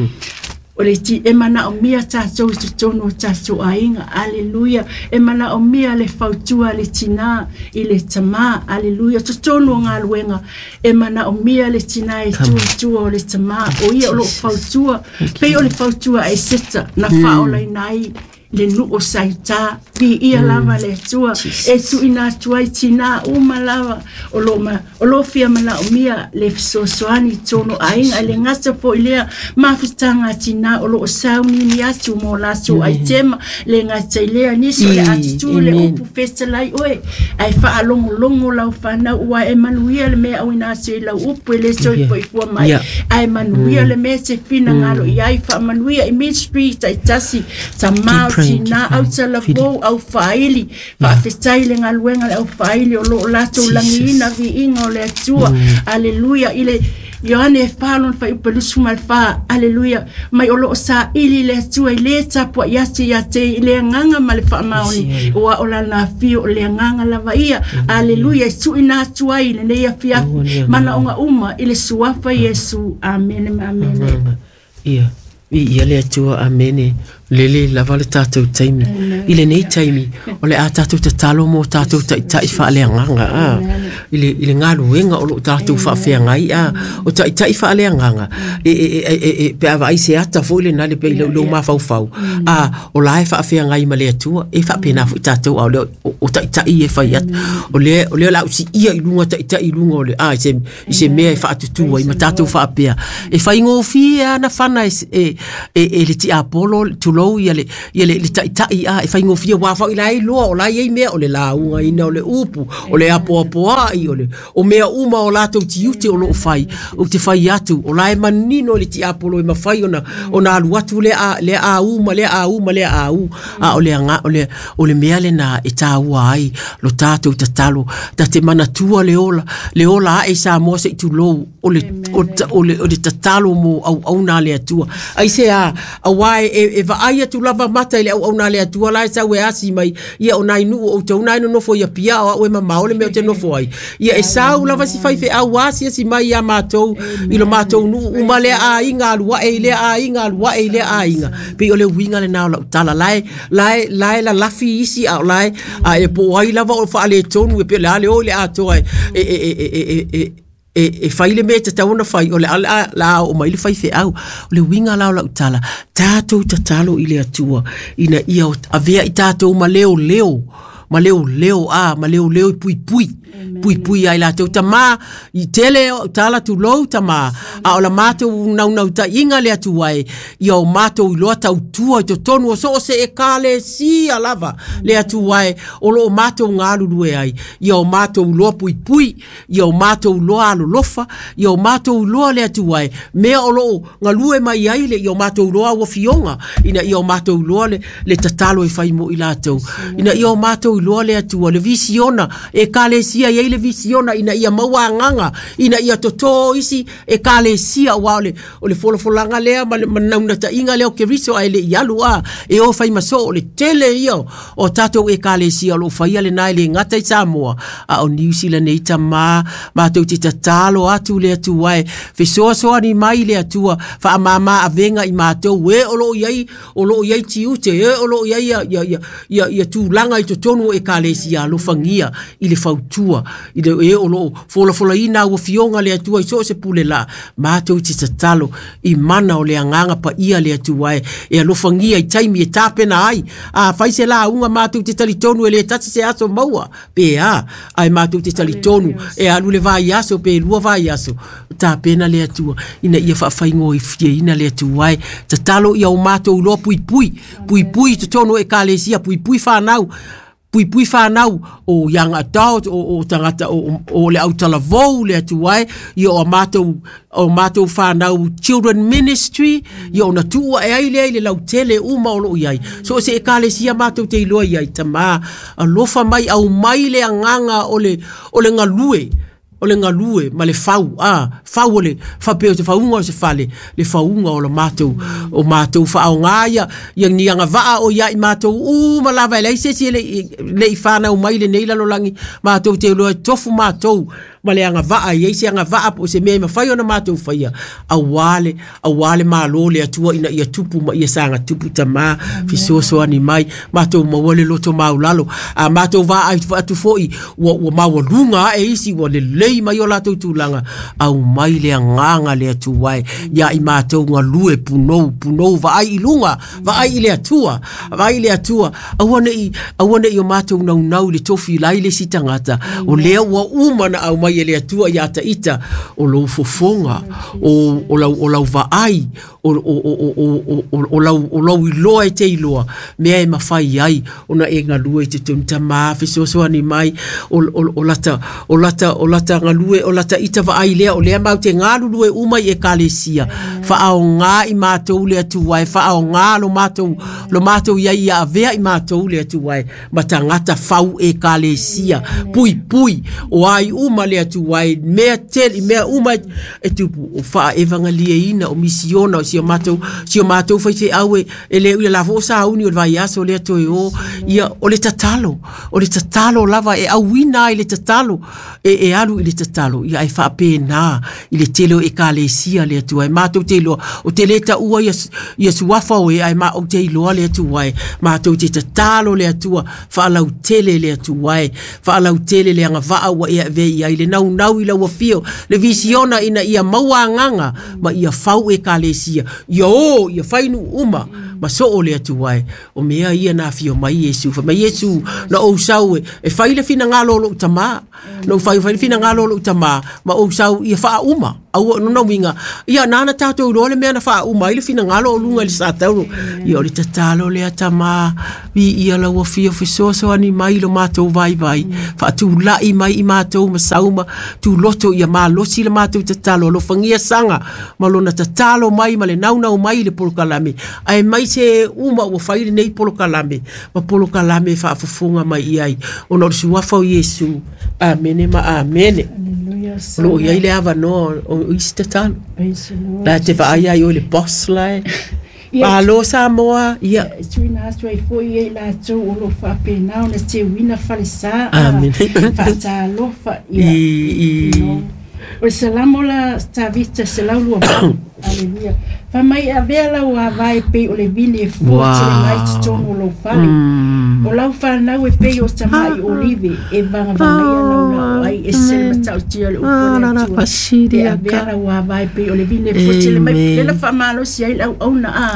o le ti e manaomia tatou i totonu o tatou aiga. Aleluia. E manaomia le fautua le tinā i le tamā. Aleluia. Totonu o galuega e manaomia le tinā e tua i tua o le tamā o ia o loo fautua pei o le fautua a Eseta na faaolaina ai le nuu o Saitā viia lava le Atua e tu'uina atu ai tinā uma lava o loo ma o loo fia manaomia le fesoasoani i totonu o aiga e le gata fo'i lea mafutaga a tinā o loo sauniuni atu mo latou aitema le gata i lea nisi o le atutū le Amen. upu fetalai oe ae faalogologo lau fanau ua e manuia le mea auina atu i lau upu e lē toe Yeah. fo'ifua mai Yeah. ae manuia le mea te finagalo i ai faamanuia i ministry taitasi tamā o tina au talavou au faili faafetai le galuega le au faili o loo latou lagiina viiga o le Atua. Aleluia i le Ioane fa lona fuaiupu lusu ma le fa. Aleluia mai o loo saili le Atua i lē tapuaʻi atu ia te i le agaga ma le faamaoni ua o lana afio o le agaga lava ia. Aleluia e tuuina atu ai lenei afiafi manaoga uma i le suafa Iesu. Amene ma amene. Ia i ia le Atua. Amene. Lele lava le tātou taimi. I lenei taimi, o le a tātou tatalo mo tātou taitai faaleagaga a. I le, i le galuega o loo tātou faafeagai a. O taitai faaleagaga e, e, e, e, e, pe a vaai se ata foi lena le pe i lou mafaufau. A, o la e faafeagai ma le Atua, e faapena foi tātou a o le o, o taitai e fai atu. O le, o le la usi ia i luga taitai i luga o le, a, i se, i se mea e faatutua i ma tātou faapea. E faigofie ana fana e, e, e, e le tiapolo, tulou ia le ia le le taitai a e faigofie wa fa ila loa o la iai mea o le lauga ina o le upu o le apoapoai o le o mea uma o latou tiute o loo fai o te fai atu o la e manino le tiapolo e mafai ona ona alu atu le a le a u ma le a u ma le a u a o le anga o le o le mea lena e tāua ai lo tātou tatalo ta te manatua le ola le ola a e Samoa se i tulou o le o le o le tatalo mo au au na le Atua ai se a aua e e vaai atu lava mata i le auauna le Atua la e sau e asi mai ia o nai nuu o tau nai nonofo ia pia o au e mamao le mea o te nofo ai ia e sau lava si faifeau asiasi mai ia matou i lo matou nuu uma lea aiga alu ae i lea aiga alu ae i lea aiga pei o le uiga lenā o lau tala lae lae lae lalafi isi a o lae a e po ai lava o faaletonu e pe le a le o i le atoa e e e e e e e e fai le mea e tatau ona fai o le a la o mai le faifeau o le uiga la o lau tala tātou tatalo i le Atua ina ia avea i tātou ma leo leo ma leo leo a ma leo leo i puipui puipui ai latou tamā i tele o tala tulou tamā a o la matou naunautaiga le Atua e ia o matou iloa tautua i totonu o so o se ekalesia lava le Atua e o loo matou galulue ai ia o matou iloa puipui ia o matou iloa alolofa ia o matou iloa le Atua e mea o loo galue mai ai le ia o matou iloa ua fioga ina ia o matou iloa le, le tatalo e fai mo i latou ina ia o matou iloa le Atua le visiona ekalesia iai le visiona ina ia maua agaga ina ia totō isi ekalesia ua o le o le folafolaga lea ma le manaunataiga lea o Keriso ae leʻi alu a e o fai ma soo o le tele ia o tatou ekalesia o loo faia lenā e lē gata i Samoa a o Niu Sila nei tamā matou te tatalo atu le Atua e fesoasoani mai le Atua faamāmā avega i matou e o loo iai o loo iai tiute e o loo iai ia ia ia ia tulaga i totonu o ekalesia alofagia i le fautua i le e o loo folafolaina ua fioga le Atua i so o se pule la matou te tatalo i mana o le agaga paia le Atua e e alofagia i taimi e tapena ai a fai se lauga matou te talitonu e lē tasi se aso maua pe a ae matou te talitonu e alu le vaiaso pe lua vaiaso tapena le Atua ina ia faafaigofieina le Atua e tatalo ia o matou iloa puipui puipui i totonu o ekalesia puipui fanau puipui whanau o young adult o o tangata o o le autalavou le Atua e ia o matou o matou whanau children ministry ia ona tuua e ai lea i le lautele uma o loo iai so o se ekalesia matou te iloa iai tamā alofa mai aumai le agaga o le o le galue o le galue ma le fau a fau o le faapea o se fauga o se fale le fauga o le matou o matou faaaogā ia ia ni agavaa o ia i matou uma lava e leai se isi e leʻi fanau mai lenei lalolagi matou te iloa e tofu matou ma le agavaa iai se agavaa po o se mea e mafai ona matou faia auā le auā le Malo le Atua ina ia tupu ma ia saga tupu tamā fesoasoani mai matou maua le loto maulalo a matou vaai atu foi ua ua maualuga ae isi ua lelei mai o latou tulaga aumai le agaga le Atua e ia i matou galue punou punou vaai i luga vaai i le Atua vaai i le Atua aua nei aua nei o matou naunau i le tofi lai le isi tagata o lea ua uma na aumai mai e le Atua ia ta ita o lou fofoga o o lau o lau vaai o o o o o o lau o lau iloa e te iloa mea e mafai ai ona e galue i totonu tamā fesoasoani mai o o o lata o lata o lata galue o lata ita vaai lea o lea mau te galulue uma i ekalesia faaoga i matou le Atua e faaoga lo matou lo matou ia ia avea i matou le Atua e ma tagata fau ekalesia pui pui o ai uma le Atua e mea tele mea uma e tupu o faaevagalieina o misiona o si o matou si o matou faifeau e le ui la fo sauni o le vaiaso le toe o ia o le tatalo o le tatalo lava e auina ai le tatalo e e alu i le tatalo ia ai faapena i le tele o ekalesia le Atua e matou te iloa o te le taua ia ia suafa o e ai ma o te iloa le Atua e matou te tatalo le Atua faalautele le Atua e faalautele le agavaa ua e ave i ai le naunau i lau afio le visiona ina ia maua agaga ma ia fau ekalesia ia o ia fainu uma ma soo le Atua e o mea ia na afio mai Iesu fa mai Iesu na ou sau e e fai le finagalo o lou tamā na ou fai fai le finagalo o lou tamā ma ou sau ia faauma au no winga ia nana tātou iloa le mea na faauma ai le finagalo o luga i le satauro ia o le tatalo lea tamā vi ia lau afio fesoasoani mai lo matou vaivai faatulai mai i matou ma sauma tuloto ia malosi le matou tatalo alofagia saga ma lona tatalo mai ma le naunau mai i le polokalame ae mai se uma ua fai lenei polokalame ma polokalame faafofoga mai i ai ona o le suafa o Iesu. Amene ma amene. O loo iai le avanoa o isi tatalo la te vaai ai o le boss la e Malo Samoa ia e tuuina atu ai foi e i latou o loo faapena ona teuina falesā Amene faatalofa ia i o le Salamo la Tavita selau lua valu. Aleluia. Fa mai avea lau avae pei o le vine e fua tele mai totonu o lou fale. O lau fanau e pei o tamai olive e vagavagaia lau laau ai e se le matautia o le upu a le Atua. E avea lau avae pei o le vine e fua tele mai le la faamalosi ai le auauna a.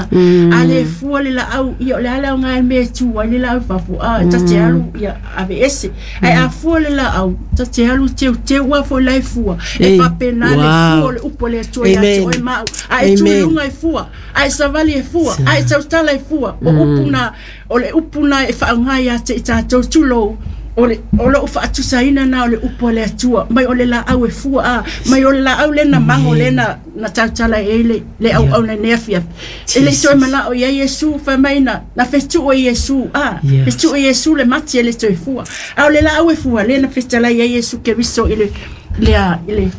A le fua le laau ia o le a le aoga i le mea e tu ai le laau i fafo a ta te alu ia aveese. Ae a fua le laau ta te alu teuteu a foi la e fua. E faapena le fua o le upu a le Atua ia te oe ma au. A e tui luga e fua, a e savali e fua, a e tautala e fua. O upu na, o le upu na e faaaoga ia te i tatou tulou. O le o lou faatusaina na o le upu a le Atua mai o le laau e fua a mai o le laau lena mago lena na tautala e le le auauna nei afiafi. E le toe manao ia Iesu fai mai na na fetuu e Iesu a fetuu e Iesu le mati e le toe fua. A o le laau e fua lena fetalai ia Iesu Keriso i le le i le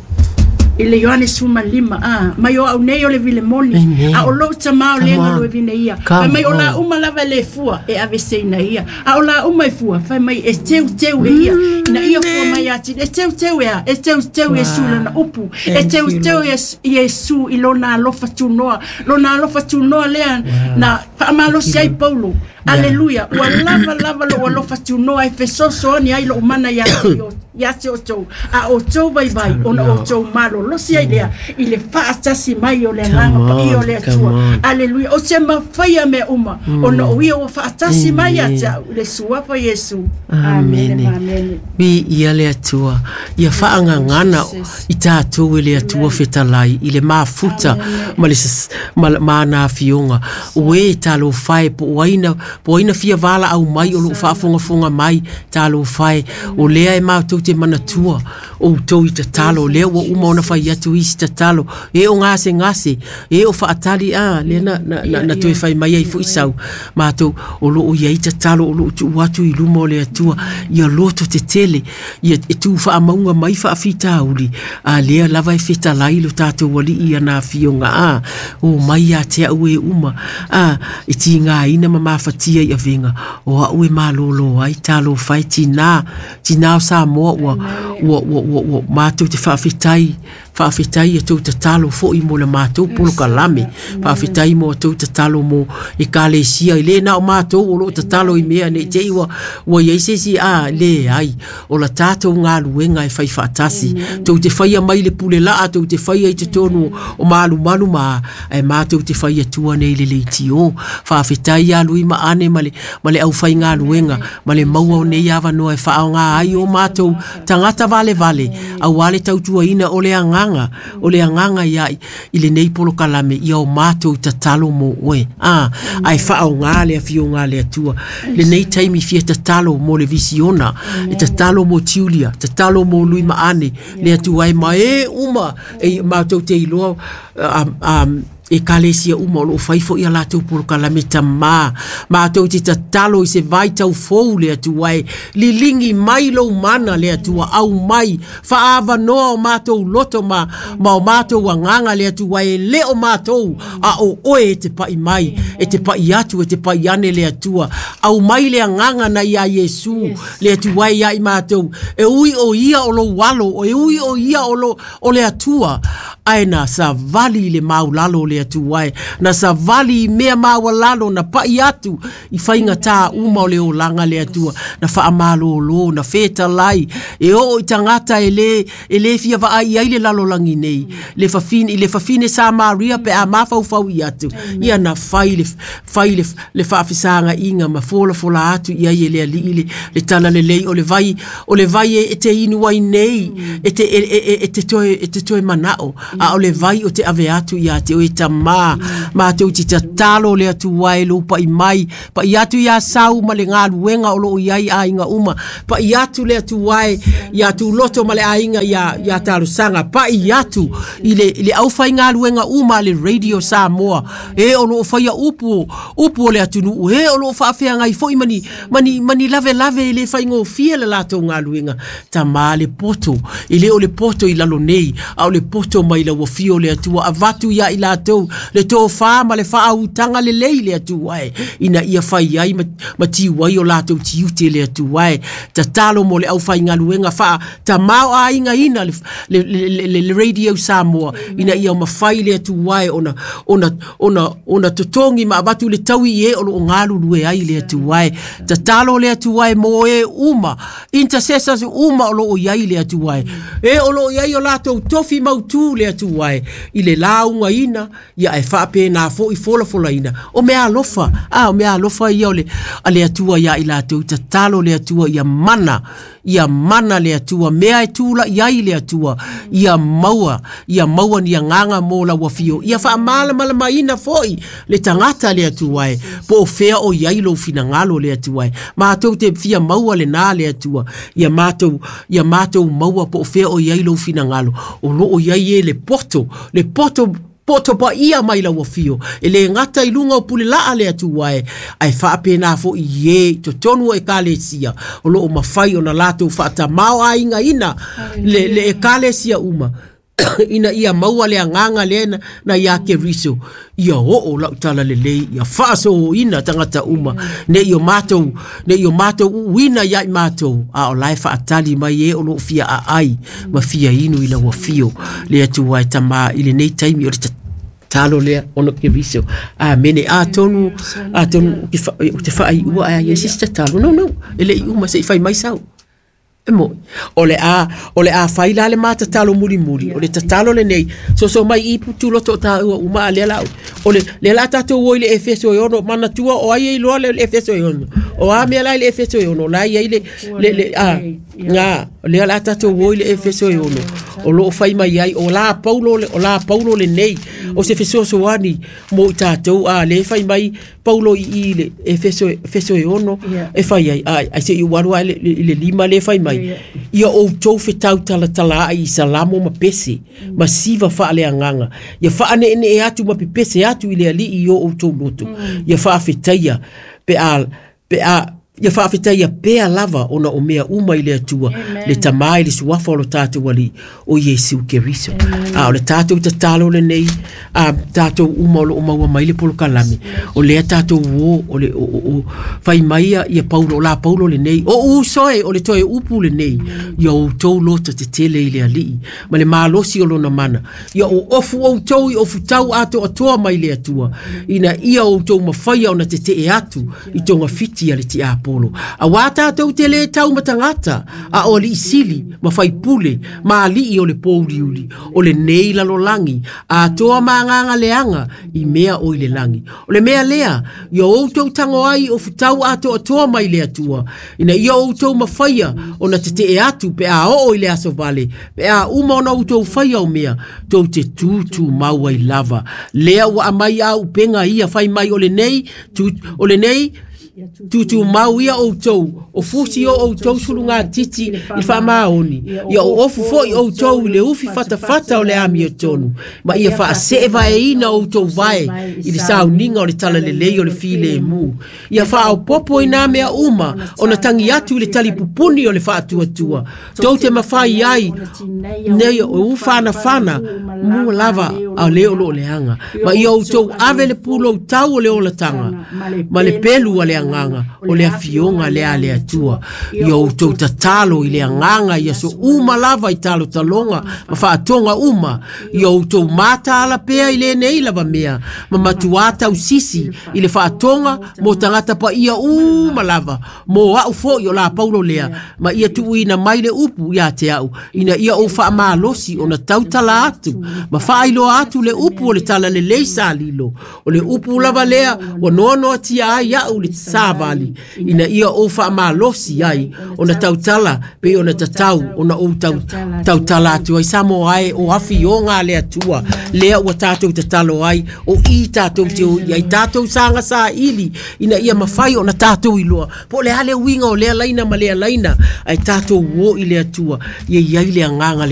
i le Ioane suma lima a mai o au nei o le vilemoni a o lou tamā o le galue vine ia fai mai o la uma lava le fua e aveseina ia a o la uma e fua fai mai e teuteu e ia ina ia fua mai ati e teuteu e a e teuteu Iesu lona upu e teuteu Iesu i lona alofa tunoa lona alofa tunoa lea na faamalosi ai Paulo. Aleluia. Ua lava lava lou alofa tunoa e fesoasoani ai lou mana ia te ia te outou a outou vaivai ona outou malolosi ai lea i le faatasi mai o le agaga paia o le Atua. Aleluia. O te mafaia mea uma ona o ia ua faatasi mai ia te au i le suafa Iesu. Amene ma amene. Vi ia le Atua ia faagagana i tatou e le Atua fetalai i le mafuta ma le ma ana afioga o e talofa e po o aina po aina fia vala au mai o loo faafogafoga mai talofa e o lea e matou te manatua o outou i tatalo lea ua uma ona fai atu isi tatalo e o gasegase e o faatali a lea na, na, na, na toe fai mai ai foi sau matou o loo iai tatalo o loo tuu atu i luma o le Atua ia loto tetele ia e tuu faamauga mai faafitauli a lea lava e fetalai lo tatou alii ana afioga a o mai ia te au e uma a e tigaina ma mafatia i avega o au e malōlō ai talofa e tinā tinā o Samoa ua ua ua ua ua matou te faafetai faafetai ia tou tatalo foi mo le matou polokalame faafetai mo tou tatalo mo ekalesia i le na o matou o loo tatalo i mea nei te i ua ua iai se isi a leai o la tatou galuega e fai faatasi tou te faia mai le pule laa tou te faia i totonu o malumalu ma ae matou te fai atua nei le leitio faafetai ia lui ma Maane ma le ma le au faigaluega ma le maua o nei avanoa e faaaogā ai o matou tagata valevale auā le tautuaina o le agaga o le agaga ia i lenei polokalame ia o matou tatalo mo oe a ae faaaogā le afioga a le Atua lenei taimi fia tatalo mo le visiona e tatalo mo Julia tatalo mo Lui Maane le Atua e ma e uma e matou te iloa um e kalesia uma o loo fai foi a latou polokalame tamā matou te tatalo i se vaitau fou le Atua e liligi mai lou mana le Atua aumai faaavanoa o matou loto ma ma o matou agaga le Atua e le o matou a o oe e te pai mai e te pai atu e te pai ane le Atua aumai le agaga na ia Iesu le Atua e ia i matou e ui o ia o lou alo e ui o ia o lo o le Atua ae na savali le maulalo le Atua e na savali i mea maualalo na pai atu i faigata uma o le olaga le Atua na faamalōlō na fetalai e oo i tagata e lē e lē fia vaai ai le lalolagi nei le fafine i le fafine Samaria pe a mafaufau i atu ia na fai le fai le le faafesagaʻiga ma folafola atu i ai e le alii le le tala lelei o le vai o le vai e te inu ai nei e te e e e te toe e te toe manao a o le vai o te ave atu ia te oe tamā matou te tatalo le Atua e lou paʻi mai paʻi atu iā Sau ma le galuega o loo iai aiga uma paʻi atu le Atua e iā Tuloto ma le aiga iā iā Talosaga paʻi atu i le i le aufaigaluega uma a le Radio Samoa e o loo faia upu upu o le atunuu e o loo faafeagai foi mani mani mani lavelave e le faigofie le latou galuega tamā le poto e le o le poto i lalo nei a o le poto mai lau afio le Atua avatu ia i latou le tofā ma le faautaga lelei le Atua e ina ia fai ai ma, ma tiu ai o latou tiute le Atua e tatalo mo le aufaigaluega faatamao aigaina le, le, le, le, le Radio Samoa ina ia mafai le Atua e ona ona ona ona totogi ma avatu le taui e o loo galulue ai le Atua e tatalo le Atua e mo e uma intercessors uma o loo iai le Atua e e o loo iai o latou tofi mautū le Atua e i le laugaina ia e faapena foʻi folafolaina o mea alofa a o mea alofa ia o le a le Atua ia i latou tatalo le Atua ia mana ia mana le Atua mea e tulaʻi ai le Atua ia maua ia maua ni agaga mo lau afio ia faamalamalamaina foʻi le tagata le Atua e po o fea o iai lou finagalo le Atua e matou te fia maua lenā le Atua ia matou ia matou maua po o fea o iai lou finagalo o loo iai e le poto le poto poto paia mai lau afio e le gata i luga o pulelaa le Atua e ae faapena foʻi i e i totonu o ekalesia o loo mafai ona latou faatamao aigaina le le ekalesia uma ina ia maua le agaga lea na, na iā Keriso ia oo lau tala lelei ia faasōina tagata uma nei o matou nei o matou uuina ia i matou a o lae faatali mai e o loo fia aai ma fia inu i lau afio le Atua e tamā i lenei taimi o le tatalo lea ona Keriso amene atonu atonu o te faaiua ae ia se tatalo no no e leʻi uma seʻi fai mai sau e mo o le a o le a fai la le matatalo mulimuli o le tatalo lenei soso mai i putu loto o tāua uma a lea la o le le la tatou o i le Efeso e ono manatua o ai e iloa le Efeso e ono o a mea la i le Efeso e ono la iai le le le a ngā lea la tatou o i le Efeso e ono o loo fai mai ai o la Paulo le o la Paulo lenei o se fesoasoani mo i tatou a le fai mai Paulo i i le Efeso Efeso e ono e fai ai ai ai se i ualu ai le, le lima le fai mai ia outou fetautalatala ai i salamo ma pese ma siva faaleagaga ia faaneenee atu ma pepese atu i le alii i o outou loto ia faafetaia pe a pe a ia faafetaia pea lava ona o mea uma i le Atua le tamā i le suafa o lo tatou alii o Iesu Keriso a o le tatou tatalo lenei a tatou uma o loo maua mai le polokalame o lea tatou o o le o, o, o fai mai ia ia Paulo o la Paulo lenei o uso e o le toe upu lenei ia outou loto tetele i le alii ma le malosi o lona mana ia o ofu outou i ofutau atoatoa mai le Atua ina ia outou mafaia ona tetee atu i togafiti a le tiakono tiapolo. Auā tatou te lē taumatagata, a o aliʻi sili ma faipule ma aliʻi o le pouliuli o lenei lalolagi atoa ma agaga leaga i mea o i le lagi. O le mea lea, ia outou tago ai o futau atoatoa mai le Atua, ina ia outou mafaia ona teteʻe atu pe a oo i le aso vale, pe a uma ona outou faia o mea, tou te tutumau ai lava. Lea ua aumai a upega ia fai mai o lenei, tu, o lenei tutumau ia outou, o fusi o outou sulugatiti i le faamaoni, ia o ofu foi outou i le ufi fatafata o le amiotonu, ma ia faaseevaeina outou vae i le sauniga o le talalelei o le filemu. Ia faaopopo i nā mea uma ona tagi atu i le talipupuni o le faatuatua, tou te mafai ai nei o ufanafana mua lava a le o loo leaga, ma ia outou ave le pulou tau o le olataga ma le pelu a le agaga o le afioga lea a le Atua. Ia outou tatalo i le agaga i aso uma lava i talotaloga ma faatoga uma. Ia outou mataala pea i lenei lava mea, ma matuā tausisi i le faatoga mo tagata paia uma lava, mo au foi o la Paulo lea, ma ia tuuina mai le upu ia te au, ina ia ou faamalosi ona tautala atu ma faailoa atu le upu o le talalelei sa lilo. O le upu lava lea ua noanoatia ai au le savali, ina ia ou faamalosi ai ona tautala pei ona tatau ona ou tau, tautala atu ai. Samoa ai o afioga a le Atua lea ua tatou tatalo ai, o i tatou te o i ai tatou saga saili, ina ia mafai ona tatou iloa po o le a le uiga o lea laina ma lea laina, ae tatou o i le Atua ia i ai le agaga le